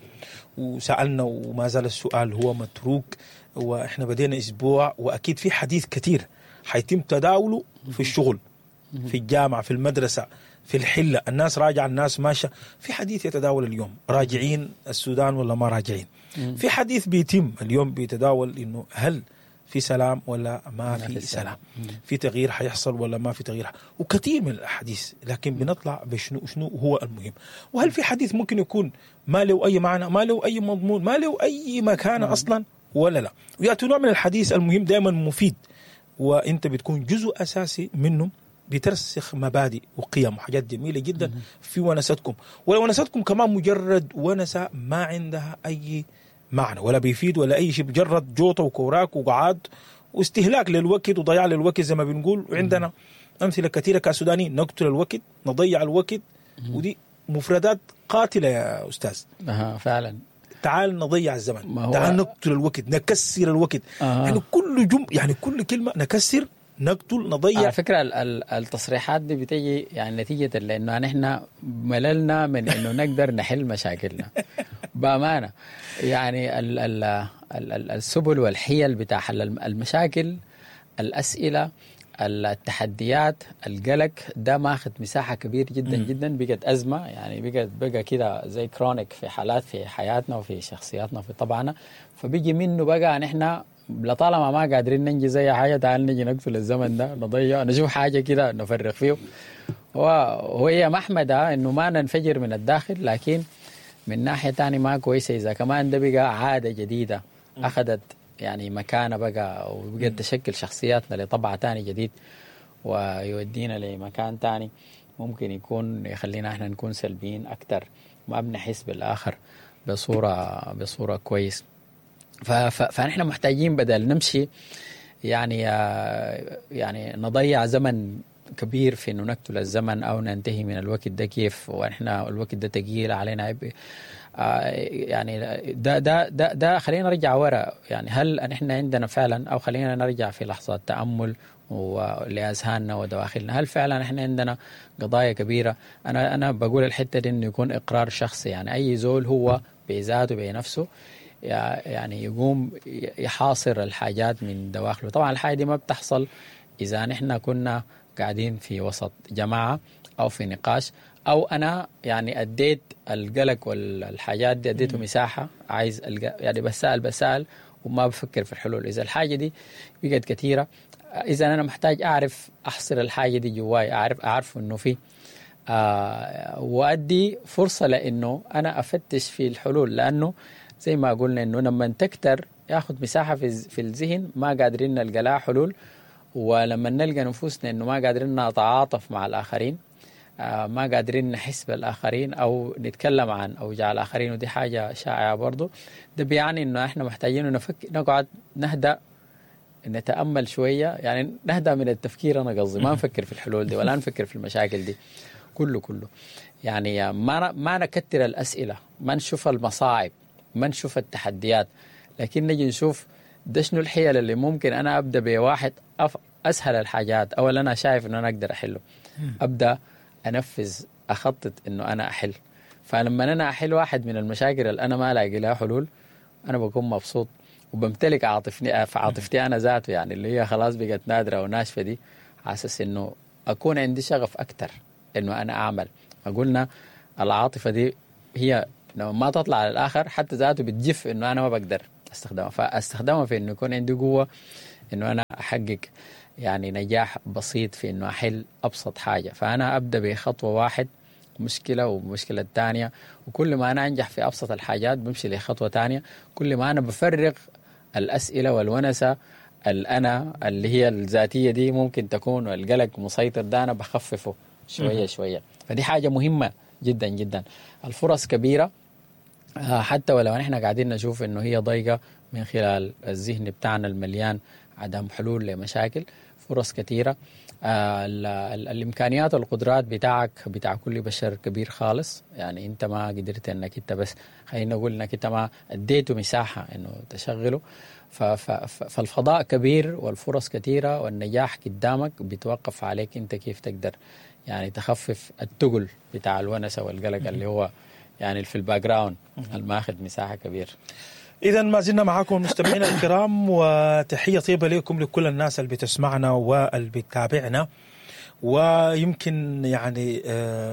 وسألنا وما زال السؤال هو متروك، وإحنا بدينا أسبوع وأكيد في حديث كثير حيتم تداوله في الشغل، في الجامعة، في المدرسة، في الحلة، الناس راجعة، الناس ماشية، في حديث يتداول اليوم راجعين السودان ولا ما راجعين. في حديث بيتم اليوم بيتداول إنه هل في سلام ولا ما في سلام، في تغيير حيحصل ولا ما في تغيير، وكثير من الأحاديث. لكن بنطلع بشنو شنو هو المهم، وهل في حديث ممكن يكون ما له أي معنى، ما له أي مضمون، ما له أي مكانة أصلا ولا لا. ويأتي نوع من الحديث المهم دائما مفيد، وانت بتكون جزء أساسي منه، بترسخ مبادئ وقيم وحاجات جميلة جدا في ونستكم. ولا ونستكم كمان مجرد ونسة ما عندها أي معنى ولا بيفيد ولا أي شيء، مجرد جوطة وكوراك وقعاد واستهلاك للوقت وضياع للوقت زي ما بنقول. وعندنا أمثلة كثيرة كسودانيين، نقتل الوقت، نضيع الوقت، ودي مفردات قاتلة يا أستاذ. فعلا. تعال نضيع الزمن، تعال نقتل الوقت، نكسر الوقت. يعني كل يعني كل كلمة نكسر، نقتل، نضيع. على فكرة التصريحات دي بتيجي يعني نتيجة لأنه نحن مللنا من إنه نقدر نحل مشاكلنا بأمانة. يعني ال ال ال السبل والحيل بتاع حل المشاكل، الأسئلة، التحديات، القلق ده ماخذ مساحة كبير جدا جدا، بقت أزمة يعني، بقى كده زي كرونيك في حالات في حياتنا وفي شخصياتنا وفي طبعنا. فبيجي منه بقى نحن لطالما ما قادرين ننجز أي حاجة، تعال نجي نقتل الزمن ده، نضيع، نشوف حاجة كده نفرغ فيه. وهي محمدة إنه ما ننفجر من الداخل، لكن من ناحية تانية ما كويسة إذا كمان ده بقى عادة جديدة أخذت يعني مكانة بقى، وبقت تشكل شخصياتنا لطبع تاني جديد ويودينا لمكان تاني ممكن يكون يخلينا احنا نكون سلبيين أكتر، ما بنحس بالآخر بصورة كويس. فنحن محتاجين بدل نمشي يعني نضيع زمن كبير في انه نقتل الزمن او ننتهي من الوقت ده كيف، ونحن الوقت ده تقيل علينا عبء. يعني ده ده ده ده خلينا نرجع ورا، يعني هل نحن عندنا فعلا، او خلينا نرجع في لحظات تأمل ولأذهاننا ودواخلنا، هل فعلا نحن عندنا قضايا كبيرة؟ انا بقول الحتة دي انه يكون اقرار شخصي، يعني اي زول هو بذاته بنفسه يعني يقوم يحاصر الحاجات من دواخله. طبعا الحاجة دي ما بتحصل إذا نحن كنا قاعدين في وسط جماعة أو في نقاش، أو أنا يعني أديت القلق والحاجات دي أديته مساحة، عايز يعني بسأل وما بفكر في الحلول. إذا الحاجة دي بقت كثيرة، إذا أنا محتاج أعرف أحصر الحاجة دي جواي، أعرف إنه في وأدي فرصة لأنه أنا أفتش في الحلول، لأنه زي ما قلنا إنه لما تكتر ياخد مساحة في الذهن ما قادرين نلقى لها حلول، ولما نلقى نفوسنا إنه ما قادرين نتعاطف مع الآخرين، ما قادرين نحس بالآخرين أو نتكلم عن أوجاع الآخرين، ودي حاجة شائعة برضو، ده بيعني إنه إحنا محتاجين نفكر، نقعد نهدأ، نتأمل شوية، يعني نهدأ من التفكير. أنا قصدي ما نفكر في الحلول دي ولا نفكر في المشاكل دي، كله كله يعني ما نكتر الأسئلة، ما نشوف المصاعب، ما نشوف التحديات، لكن نجي نشوف ده شنو الحيل اللي ممكن أنا أبدأ بواحد أسهل الحاجات أو اللي أنا شايف إنه أنا أقدر أحله، أبدأ أنفذ، أخطط إنه أنا أحل. فلما أنا أحل واحد من المشاكل اللي أنا ما لاقي لها حلول أنا بكون مبسوط وبمتلك عاطفتي أنا ذاته، يعني اللي هي خلاص بقت نادرة وناشفة دي، حاسس إنه أكون عندي شغف أكتر إنه أنا أعمل. قلنا العاطفة دي هي لما ما تطلع على الآخر حتى ذاته بتجف إنه أنا ما بقدر أستخدمها، فأستخدمها في إنه يكون عندي قوة إنه أنا أحقق يعني نجاح بسيط في إنه أحل أبسط حاجة. فأنا أبدأ بخطوة واحد مشكلة ومشكلة الثانية، وكل ما أنا أنجح في أبسط الحاجات بمشي لخطوة تانية. كل ما أنا بفرغ الأسئلة والونسة الأنا اللي هي الذاتية دي ممكن تكون والقلق مسيطر ده أنا بخففه شوية شوية. فدي حاجة مهمة جدا جدا. الفرص كبيرة حتى ولو نحن قاعدين نشوف إنه هي ضيقة من خلال الذهن بتاعنا المليان عدم حلول لمشاكل، فرص كثيرة. الإمكانيات والقدرات بتاعك بتاع كل بشر كبير خالص، يعني أنت ما قدرت أنك أنت بس خلينا نقول أنك أنت ما أديته مساحة أنه تشغله. فالفضاء كبير والفرص كثيرة والنجاح قدامك، بيتوقف عليك أنت كيف تقدر يعني تخفف التقل بتاع الونسة والقلق اللي هو يعني في ال background الماخذ مساحة كبير. إذا ما زلنا معكم مستمعينا الكرام، وتحية طيبة لكم لكل الناس اللي بتسمعنا واللي بتتابعنا، ويمكن يعني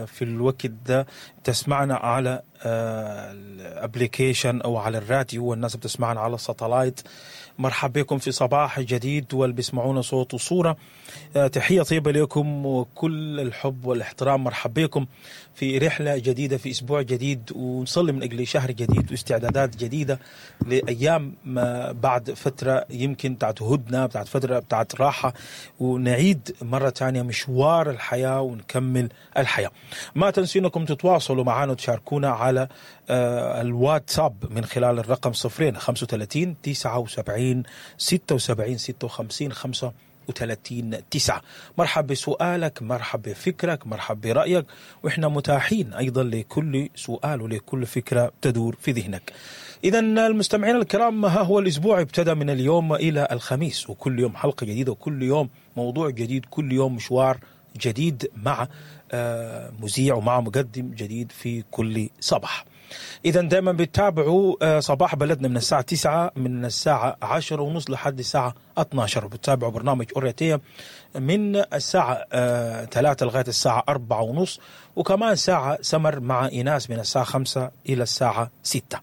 في الوقت ده تسمعنا على ال application او على الراديو، والناس بتسمعنا على ال satellite. مرحبا بكم في صباح جديد واللي بيسمعونا صوت وصورة. تحية طيبة لكم وكل الحب والاحترام. مرحبا بكم في رحلة جديدة في أسبوع جديد، ونصلي من أجل شهر جديد واستعدادات جديدة لأيام ما بعد فترة يمكن بتاعت هدنة، بتاعت فترة بتاعت راحة، ونعيد مرة تانية مشوار الحياة ونكمل الحياة. ما تنسوا أنكم تتواصلوا معنا وتشاركونا على الواتساب من خلال الرقم 0 35 79 76 56 35 9. مرحب بسؤالك، مرحب بفكرك، مرحب برأيك، وإحنا متاحين أيضا لكل سؤال ولكل فكرة تدور في ذهنك. إذا المستمعين الكرام، ها هو الأسبوع ابتدى من اليوم إلى الخميس، وكل يوم حلقة جديدة، وكل يوم موضوع جديد، كل يوم مشوار جديد مع مذيع ومع مقدم جديد في كل صباح. إذا دائما بتتابعوا صباح بلدنا من الساعة 9، من الساعة 10:30 لحد الساعة 12، بتتابعوا برنامج أوريتية من الساعة 3 لغاية الساعة 4:30، وكمان ساعة سمر مع إيناس من الساعة 5 إلى الساعة 6.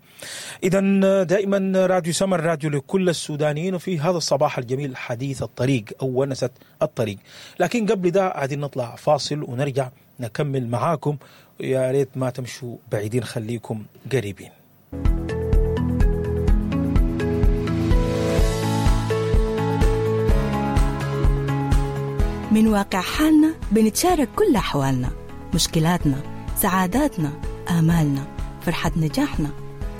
إذا دائما راديو سمر راديو لكل السودانيين، وفي هذا الصباح الجميل حديث الطريق أو ونسة الطريق. لكن قبل ده عايزين نطلع فاصل ونرجع نكمل معاكم، يا ريت ما تمشوا بعيدين، خليكم قريبين. من واقع حالنا بنتشارك كل أحوالنا، مشكلاتنا، سعاداتنا، آمالنا، فرحة نجاحنا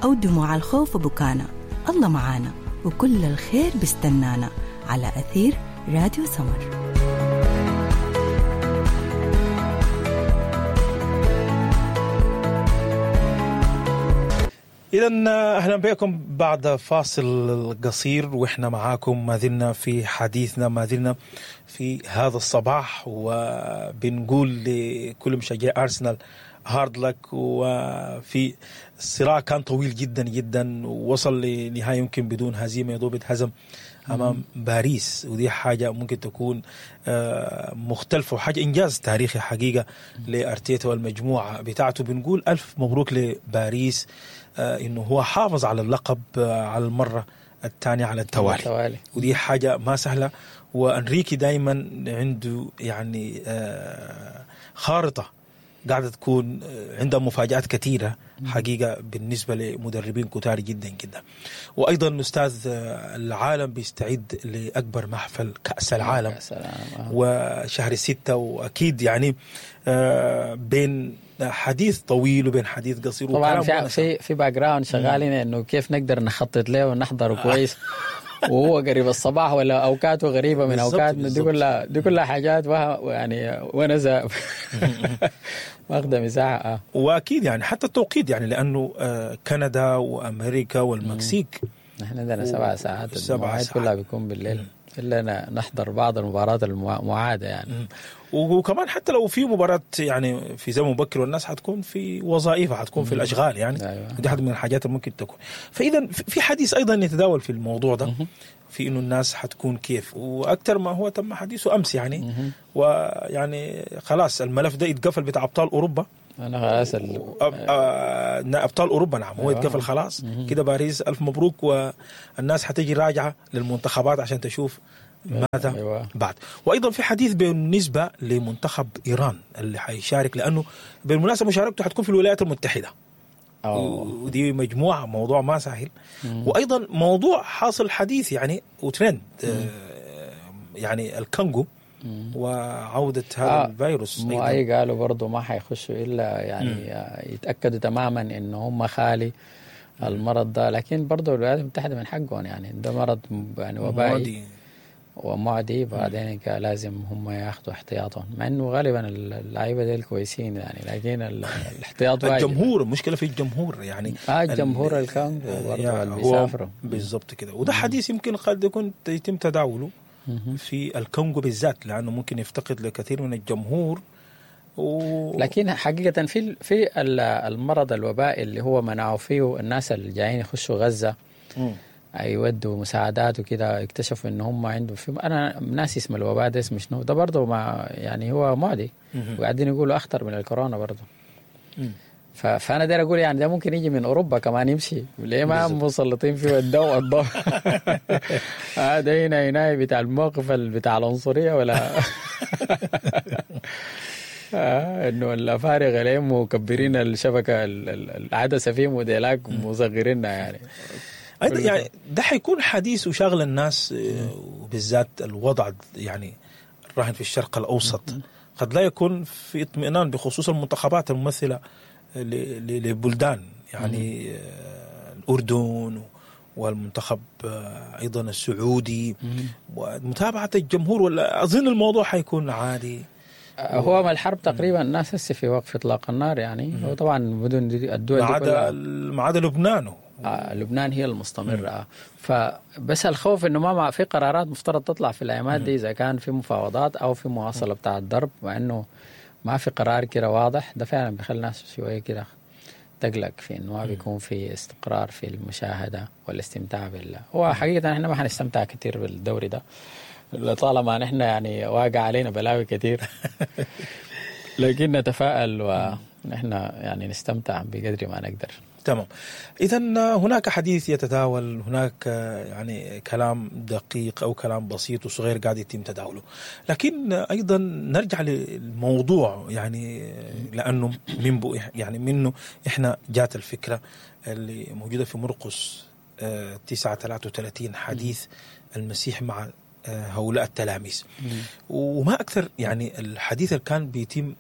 أو دموع الخوف وبكانا. الله معانا وكل الخير بستنانا على أثير راديو سمر. إذا أهلا بكم بعد فاصل قصير، وإحنا معاكم ما زلنا في حديثنا، ما زلنا في هذا الصباح، وبنقول لكل مشجعي أرسنال hard luck. وفي الصراع كان طويل جدا جدا، ووصل لنهاية يمكن بدون هزيمة، يدوب اتهزم أمام باريس، ودي حاجة ممكن تكون مختلفة وحاجة إنجاز تاريخي حقيقة لأرتيتا والمجموعة بتاعته. بنقول ألف مبروك لباريس إنه هو حافظ على اللقب على المرة الثانية على التوالي، ودي حاجة ما سهلة. وأنريكي دايما عنده يعني خارطة قاعدة تكون عندها مفاجآت كثيرة حقيقة بالنسبة لمدربين كتار جدا جدا. وأيضا أستاذ، العالم بيستعد لأكبر محفل كأس العالم وشهر 6، وأكيد يعني بين حديث طويل وبين حديث قصير. طبعا في background شغالين انه كيف نقدر نخطط له ونحضره كويس. وهو قريب الصباح ولا اوقاته غريبة من اوقاتنا. دي كلها حاجات يعني ونزه واخده مساحة. واكيد يعني حتى التوقيت يعني لانه كندا وامريكا والمكسيك نحن عندنا 7 ساعات، المواعيد كلها بيكون بالليل، الا نحضر بعض المباريات المعادة يعني. وكمان حتى لو في مباراة يعني في زمن مبكر والناس حتكون في وظائفها، حتكون في الاشغال يعني. أيوة. دي حد من الحاجات اللي ممكن تكون. فاذا في حديث ايضا يتداول في الموضوع ده، في انه الناس حتكون كيف، واكثر ما هو تم حديثه امس يعني. ويعني خلاص الملف ده اتقفل بتاع ابطال اوروبا. انا خلاص ابطال اوروبا نعم هو اتقفل خلاص كده. باريس الف مبروك، والناس حتجي راجعه للمنتخبات عشان تشوف ماذا. أيوة. بعد. وايضا في حديث بالنسبة لمنتخب ايران اللي حيشارك، لانه بالمناسبة مشاركته حتكون في الولايات المتحدة. ودي مجموعة موضوع ما سهل. وايضا موضوع حاصل حديث يعني وترند يعني الكونغو وعودة هذا الفيروس. أي قالوا برضو ما حيخشوا إلا يعني يتأكدوا تماما إنه هم خالي المرض ده. لكن برضو الولايات المتحدة من حقهم يعني، ده مرض يعني وبائي ومعدي، بعدين لازم هم ياخذوا احتياطهم، مع انه غالبا اللعيبة ديل كويسين يعني، لكن الاحتياط واجب. الجمهور، المشكلة في الجمهور يعني. الجمهور الكونغو برضه اللي بيسافروا بالضبط كده. وده حديث يمكن قد يكون يتم تداوله في الكونغو بالذات، لانه ممكن يفتقد لكثير من الجمهور لكن حقيقة في المرض الوبائي اللي هو منعوا فيه الناس اللي جايين يخشوا غزة يودوا مساعدات وكده، اكتشفوا ان هم عندهم في، انا ناسي اسم الوباء ده اسمه شنو ده برضه، ما يعني هو معدي وقاعدين يقولوا اخطر من الكورونا برضه. فانا داير اقول يعني ده ممكن يجي من اوروبا كمان يمشي، ليه ما مسلطين فيه الضوء الضوء هذا هنا بتاع الموقف بتاع العنصرية ولا انه الافارقة ليه مكبرين الشبكة العدسة فيه موديلاك مصغرينها يعني. أيضا يعني ده حيكون حديث وشاغل الناس، وبالذات الوضع يعني الراهن في الشرق الأوسط قد لا يكون في اطمئنان بخصوص المنتخبات الممثلة لبلدان يعني الأردن والمنتخب أيضا السعودي، ومتابعة الجمهور. ولا أظن الموضوع حيكون عادي. هو ما الحرب تقريبا الناس هسه في وقف اطلاق النار يعني. وطبعا مدن الدول ما عدا لبنان. لبنان هي المستمرة. فبس الخوف انه ما في قرارات مفترض تطلع في الايامات دي، اذا كان في مفاوضات او في مواصلة بتاع الضرب، مع انه ما في قرار كده واضح. ده فعلا بيخلي الناس شوية كده تقلق في انه ما بيكون في استقرار في المشاهدة والاستمتاع بالله. هو حقيقة احنا ما حنستمتع كثير بالدوري ده طالما نحن يعني واقع علينا بلاوي كثير لكن نتفائل ونحن يعني نستمتع بقدر ما نقدر. تمام. إذا هناك حديث يتداول، هناك يعني كلام دقيق أو كلام بسيط وصغير قاعد يتم تداوله، لكن أيضا نرجع للموضوع يعني لأنه من يعني منه إحنا جات الفكرة اللي موجودة في مرقس 9:33 حديث المسيح مع هؤلاء التلاميذ. وما أكثر يعني الحديث اللي كان بيتم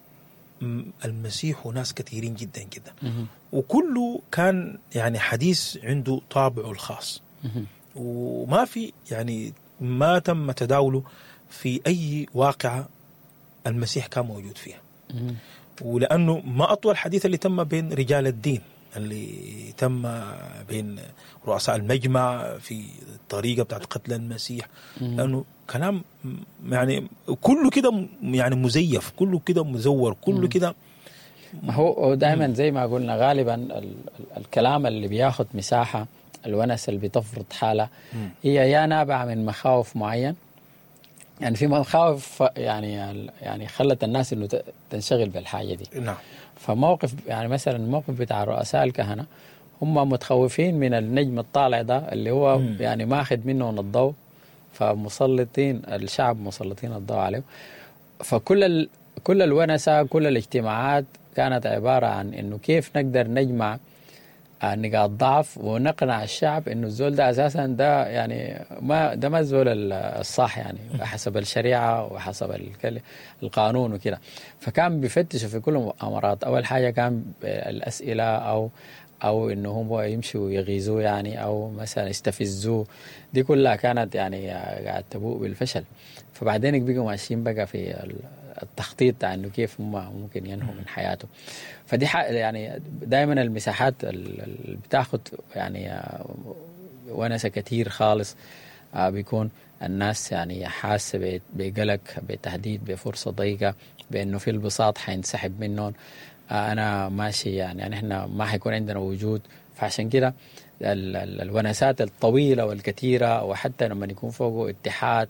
المسيح وناس كثيرين جدا جدا، وكله كان يعني حديث عنده طابعه الخاص، وما في يعني ما تم تداوله في أي واقعة المسيح كان موجود فيها. ولأنه ما أطول حديث اللي تم بين رجال الدين، اللي تم بين رؤساء المجمع في الطريقة بتاعت قتل المسيح، لأنه كلام يعني كله كده يعني مزيف، كله كده مزور، كله كده. هو دائما زي ما قلنا غالبا الكلام اللي بياخد مساحة، الونس اللي بتفرض حالة، هي يا نابعة من مخاوف معين، يعني في مخاوف يعني خلت الناس انه تنشغل بالحاجة دي. نعم. فموقف يعني مثلا الموقف بتاع رؤساء الكهنة، هم متخوفين من النجم الطالع ده اللي هو يعني ماخذ منهم الضوء، فمسلطين الشعب مسلطين الضوء عليه. فكل كل الونسة، كل الاجتماعات كانت عبارة عن انه كيف نقدر نجمع نقاط ضعف ونقنع الشعب انه الزول ده اساسا ده يعني ما ده ما الزول الصح يعني حسب الشريعة وحسب القانون وكده. فكان بيفتشوا في كل المؤامرات. اول حاجة كان الاسئلة او او انه هم يمشوا يغيظوه يعني، او مثلا يستفزوه. دي كلها كانت يعني قاعد تبوء بالفشل. فبعدين بقوا ماشيين بقى في التخطيط بتاع انه كيف هم ممكن ينهوا من حياته. فدي يعني دائما المساحات اللي بتاخد يعني ونسة كتير خالص، بيكون الناس يعني حاسة بقلق، بتهديد، بفرصة ضيقة، بأنه في البساط حينسحب منهم، أنا ماشي يعني احنا ما حيكون عندنا وجود. فعشان كده الونسات الطويلة والكثيرة، وحتى لما يكون فوقه اتحاد،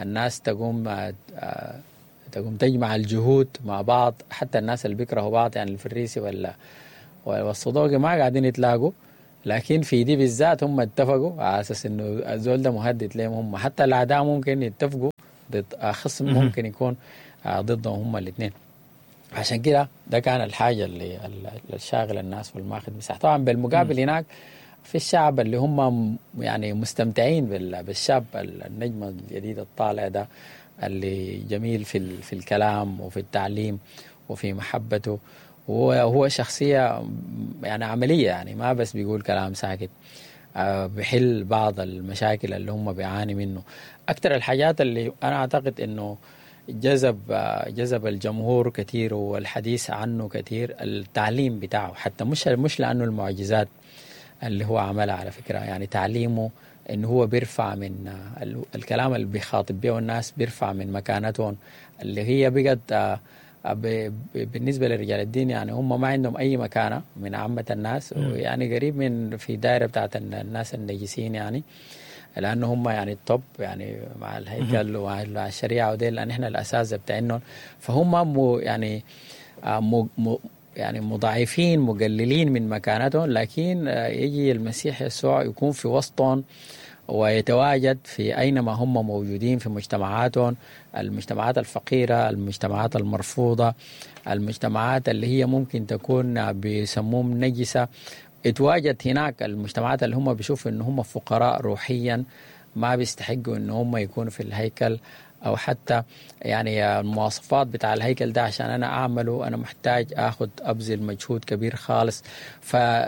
الناس تقوم تجمع الجهود مع بعض، حتى الناس اللي بيكرهوا بعض يعني الفريسي ولا والصدوقي ما قاعدين يتلاقوا، لكن في دي بالذات هم اتفقوا على اساس انه الزول ده مهدد لهم هم، حتى الاعداء ممكن يتفقوا ضد خصم ممكن يكون ضدهم هم الاثنين. عشان كده ده كان الحاجة اللي الشاغل الناس والماخذ مساحة. طبعا بالمقابل هناك في الشعب اللي هم يعني مستمتعين بالشاب النجم الجديد الطالع ده، اللي جميل في الكلام وفي التعليم وفي محبته، وهو شخصية يعني عملية، يعني ما بس بيقول كلام ساكت، بحل بعض المشاكل اللي هم بيعاني منه. أكثر الحاجات اللي أنا أعتقد إنه جذب الجمهور كثير والحديث عنه كثير التعليم بتاعه، حتى مش لأنه المعجزات اللي هو عملها على فكرة، يعني تعليمه إنه هو بيرفع من الكلام اللي بيخاطب به الناس، بيرفع من مكانتهم اللي هي بقت بالنسبة لرجال الدين يعني هم ما عندهم أي مكانة من عامة الناس، ويعني قريب من في دائرة بتاعت الناس النجسين يعني، لأنه هم يعني التوب يعني مع الهيكل ومع الشريعة وديل، لأن إحنا الأساس بتاعهم. فهم يعني يعني مضاعفين مقللين من مكانتهم، لكن يجي المسيح يسوع يكون في وسطهم ويتواجد في أينما هم موجودين في مجتمعاتهم، المجتمعات الفقيرة، المجتمعات المرفوضة، المجتمعات اللي هي ممكن تكون بيسموهم نجسة. اتواجد هناك المجتمعات اللي هم بيشوفوا إن هم فقراء روحيا، ما بيستحقوا إن هم يكونوا في الهيكل، أو حتى يعني المواصفات بتاع الهيكل ده عشان أنا أعمله أنا محتاج أخذ أبذل مجهود كبير خالص.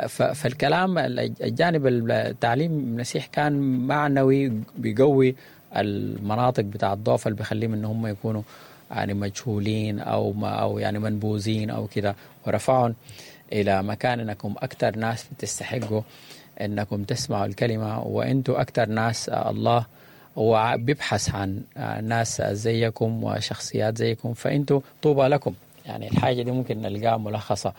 فالكلام الجانب التعليم المسيح كان معنوي، بيقوي المناطق بتاع الضعف اللي بيخليهم إن هم يكونوا يعني مجهولين أو يعني منبوذين أو كده، ورفعهم إلى مكان إنكم أكثر ناس بتستحقوا إنكم تسمعوا الكلمة، وإنتوا أكثر ناس الله وبيبحث عن ناس زيكم وشخصيات زيكم، فأنتوا طوبى لكم. يعني الحاجة دي ممكن نلقاها ملخصة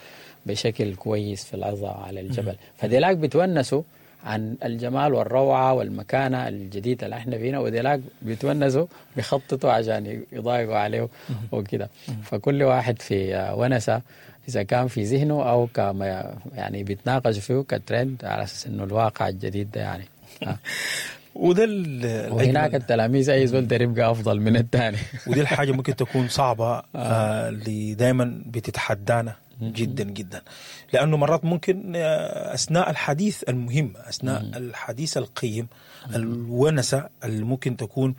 بشكل كويس في العظة على الجبل. فديلاك بتونسوا عن الجمال والروعة والمكانة الجديدة اللي احنا فينا، وديلاك بيتونسوا بيخططوا عشان يضايقوا عليه وكده. فكل واحد في ونسة إذا كان في ذهنه أو كما يعني بيتناقش فيه كترند على أساس إنه الواقع الجديد ده يعني. وده وهناك التلاميذ اي زول يبقى افضل من الثاني. ودي الحاجة ممكن تكون صعبة اللي دائما بتتحدانا جدا جدا، لانه مرات ممكن اثناء الحديث المهم، اثناء الحديث القيم، الونسه اللي ممكن تكون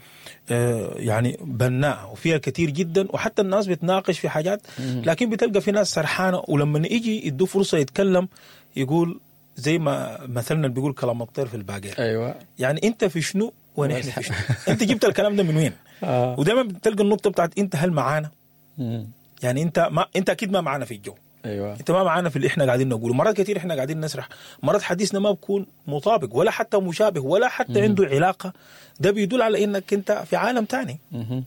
يعني بناءه وفيها كثير جدا، وحتى الناس بتناقش في حاجات، لكن بتلقى في ناس سرحانه، ولما يجي يدوا فرصة يتكلم يقول زي ما مثلنا بيقول كلام الطير في الباقير. ايوه، يعني انت في شنو ونحن في شنو؟ انت جبت الكلام ده من وين؟ ودايما بتلقى النقطة بتاعت انت هل معانا؟ يعني انت ما انت اكيد ما معانا في الجو. ايوه، انت ما معانا في اللي احنا قاعدين نقوله. مرات كثير احنا قاعدين نسرح، مرات حديثنا ما بيكون مطابق ولا حتى مشابه ولا حتى عنده علاقة. ده بيدل على انك انت في عالم ثاني،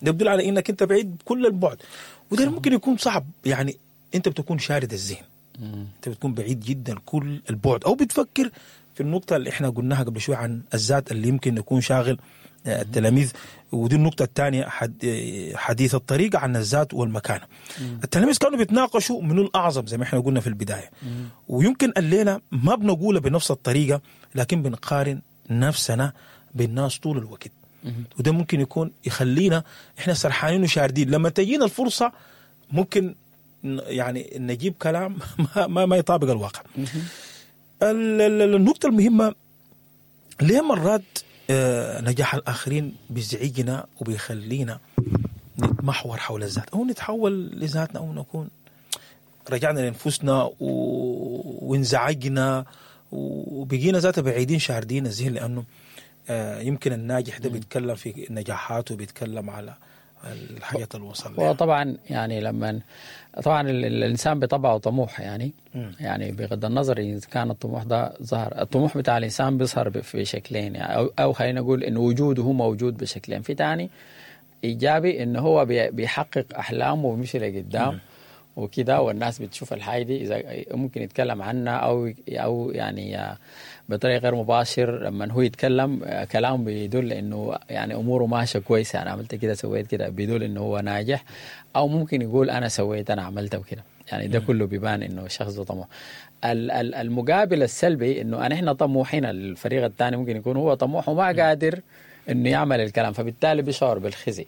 ده بيدل على انك انت بعيد كل البعد، وده ممكن يكون صعب. يعني انت بتكون شارد الذهن، انت بتكون بعيد جدا كل البعد، او بتفكر في النقطة اللي احنا قلناها قبل شوي عن الذات اللي يمكن يكون شاغل التلاميذ. ودي النقطة الثانية، حديث الطريق عن الذات والمكانة. التلاميذ كانوا بيتناقشوا من الأعظم زي ما احنا قلنا في البداية، ويمكن الليلة ما بنقولها بنفس الطريقة، لكن بنقارن نفسنا بالناس طول الوقت، وده ممكن يكون يخلينا احنا سرحانين وشاردين. لما تجينا الفرصة ممكن يعني نجيب كلام ما يطابق الواقع. النقطة المهمة، ليه مرات نجاح الآخرين بيزعجنا وبيخلينا نتمحور حول الذات، أو نتحول لذاتنا، أو نكون رجعنا لانفسنا وانزعجنا وبقينا ذاته بعيدين شاردين الذهن، لانه يمكن الناجح ده بيتكلم في نجاحاته، بيتكلم على الحاجات اللي وصل لها. هو طبعا يعني لما طبعا الانسان بطبعه طموح يعني، يعني بغض النظر اذا كان الطموح ده ظهر، الطموح بتاع الانسان بيظهر في شكلين يعني، او خلينا نقول انه وجوده هو موجود بشكلين. في تاني ايجابي انه هو بيحقق احلامه وبيمشي لقدام وكده، والناس بتشوف الحاجة دي، اذا ممكن يتكلم عنها او يعني بطريقة غير مباشر لما هو يتكلم كلام بيدل انه يعني اموره ماشية كويسه، انا عملت كده سويت كده، بيدل انه هو ناجح. او ممكن يقول انا سويت انا عملت وكده، يعني ده كله بيبان انه الشخص ده طموح. المقابل السلبي انه احنا طموحين، الفريق الثاني ممكن يكون هو طموح وما قادر انه يعمل الكلام، فبالتالي بيشعر بالخزي.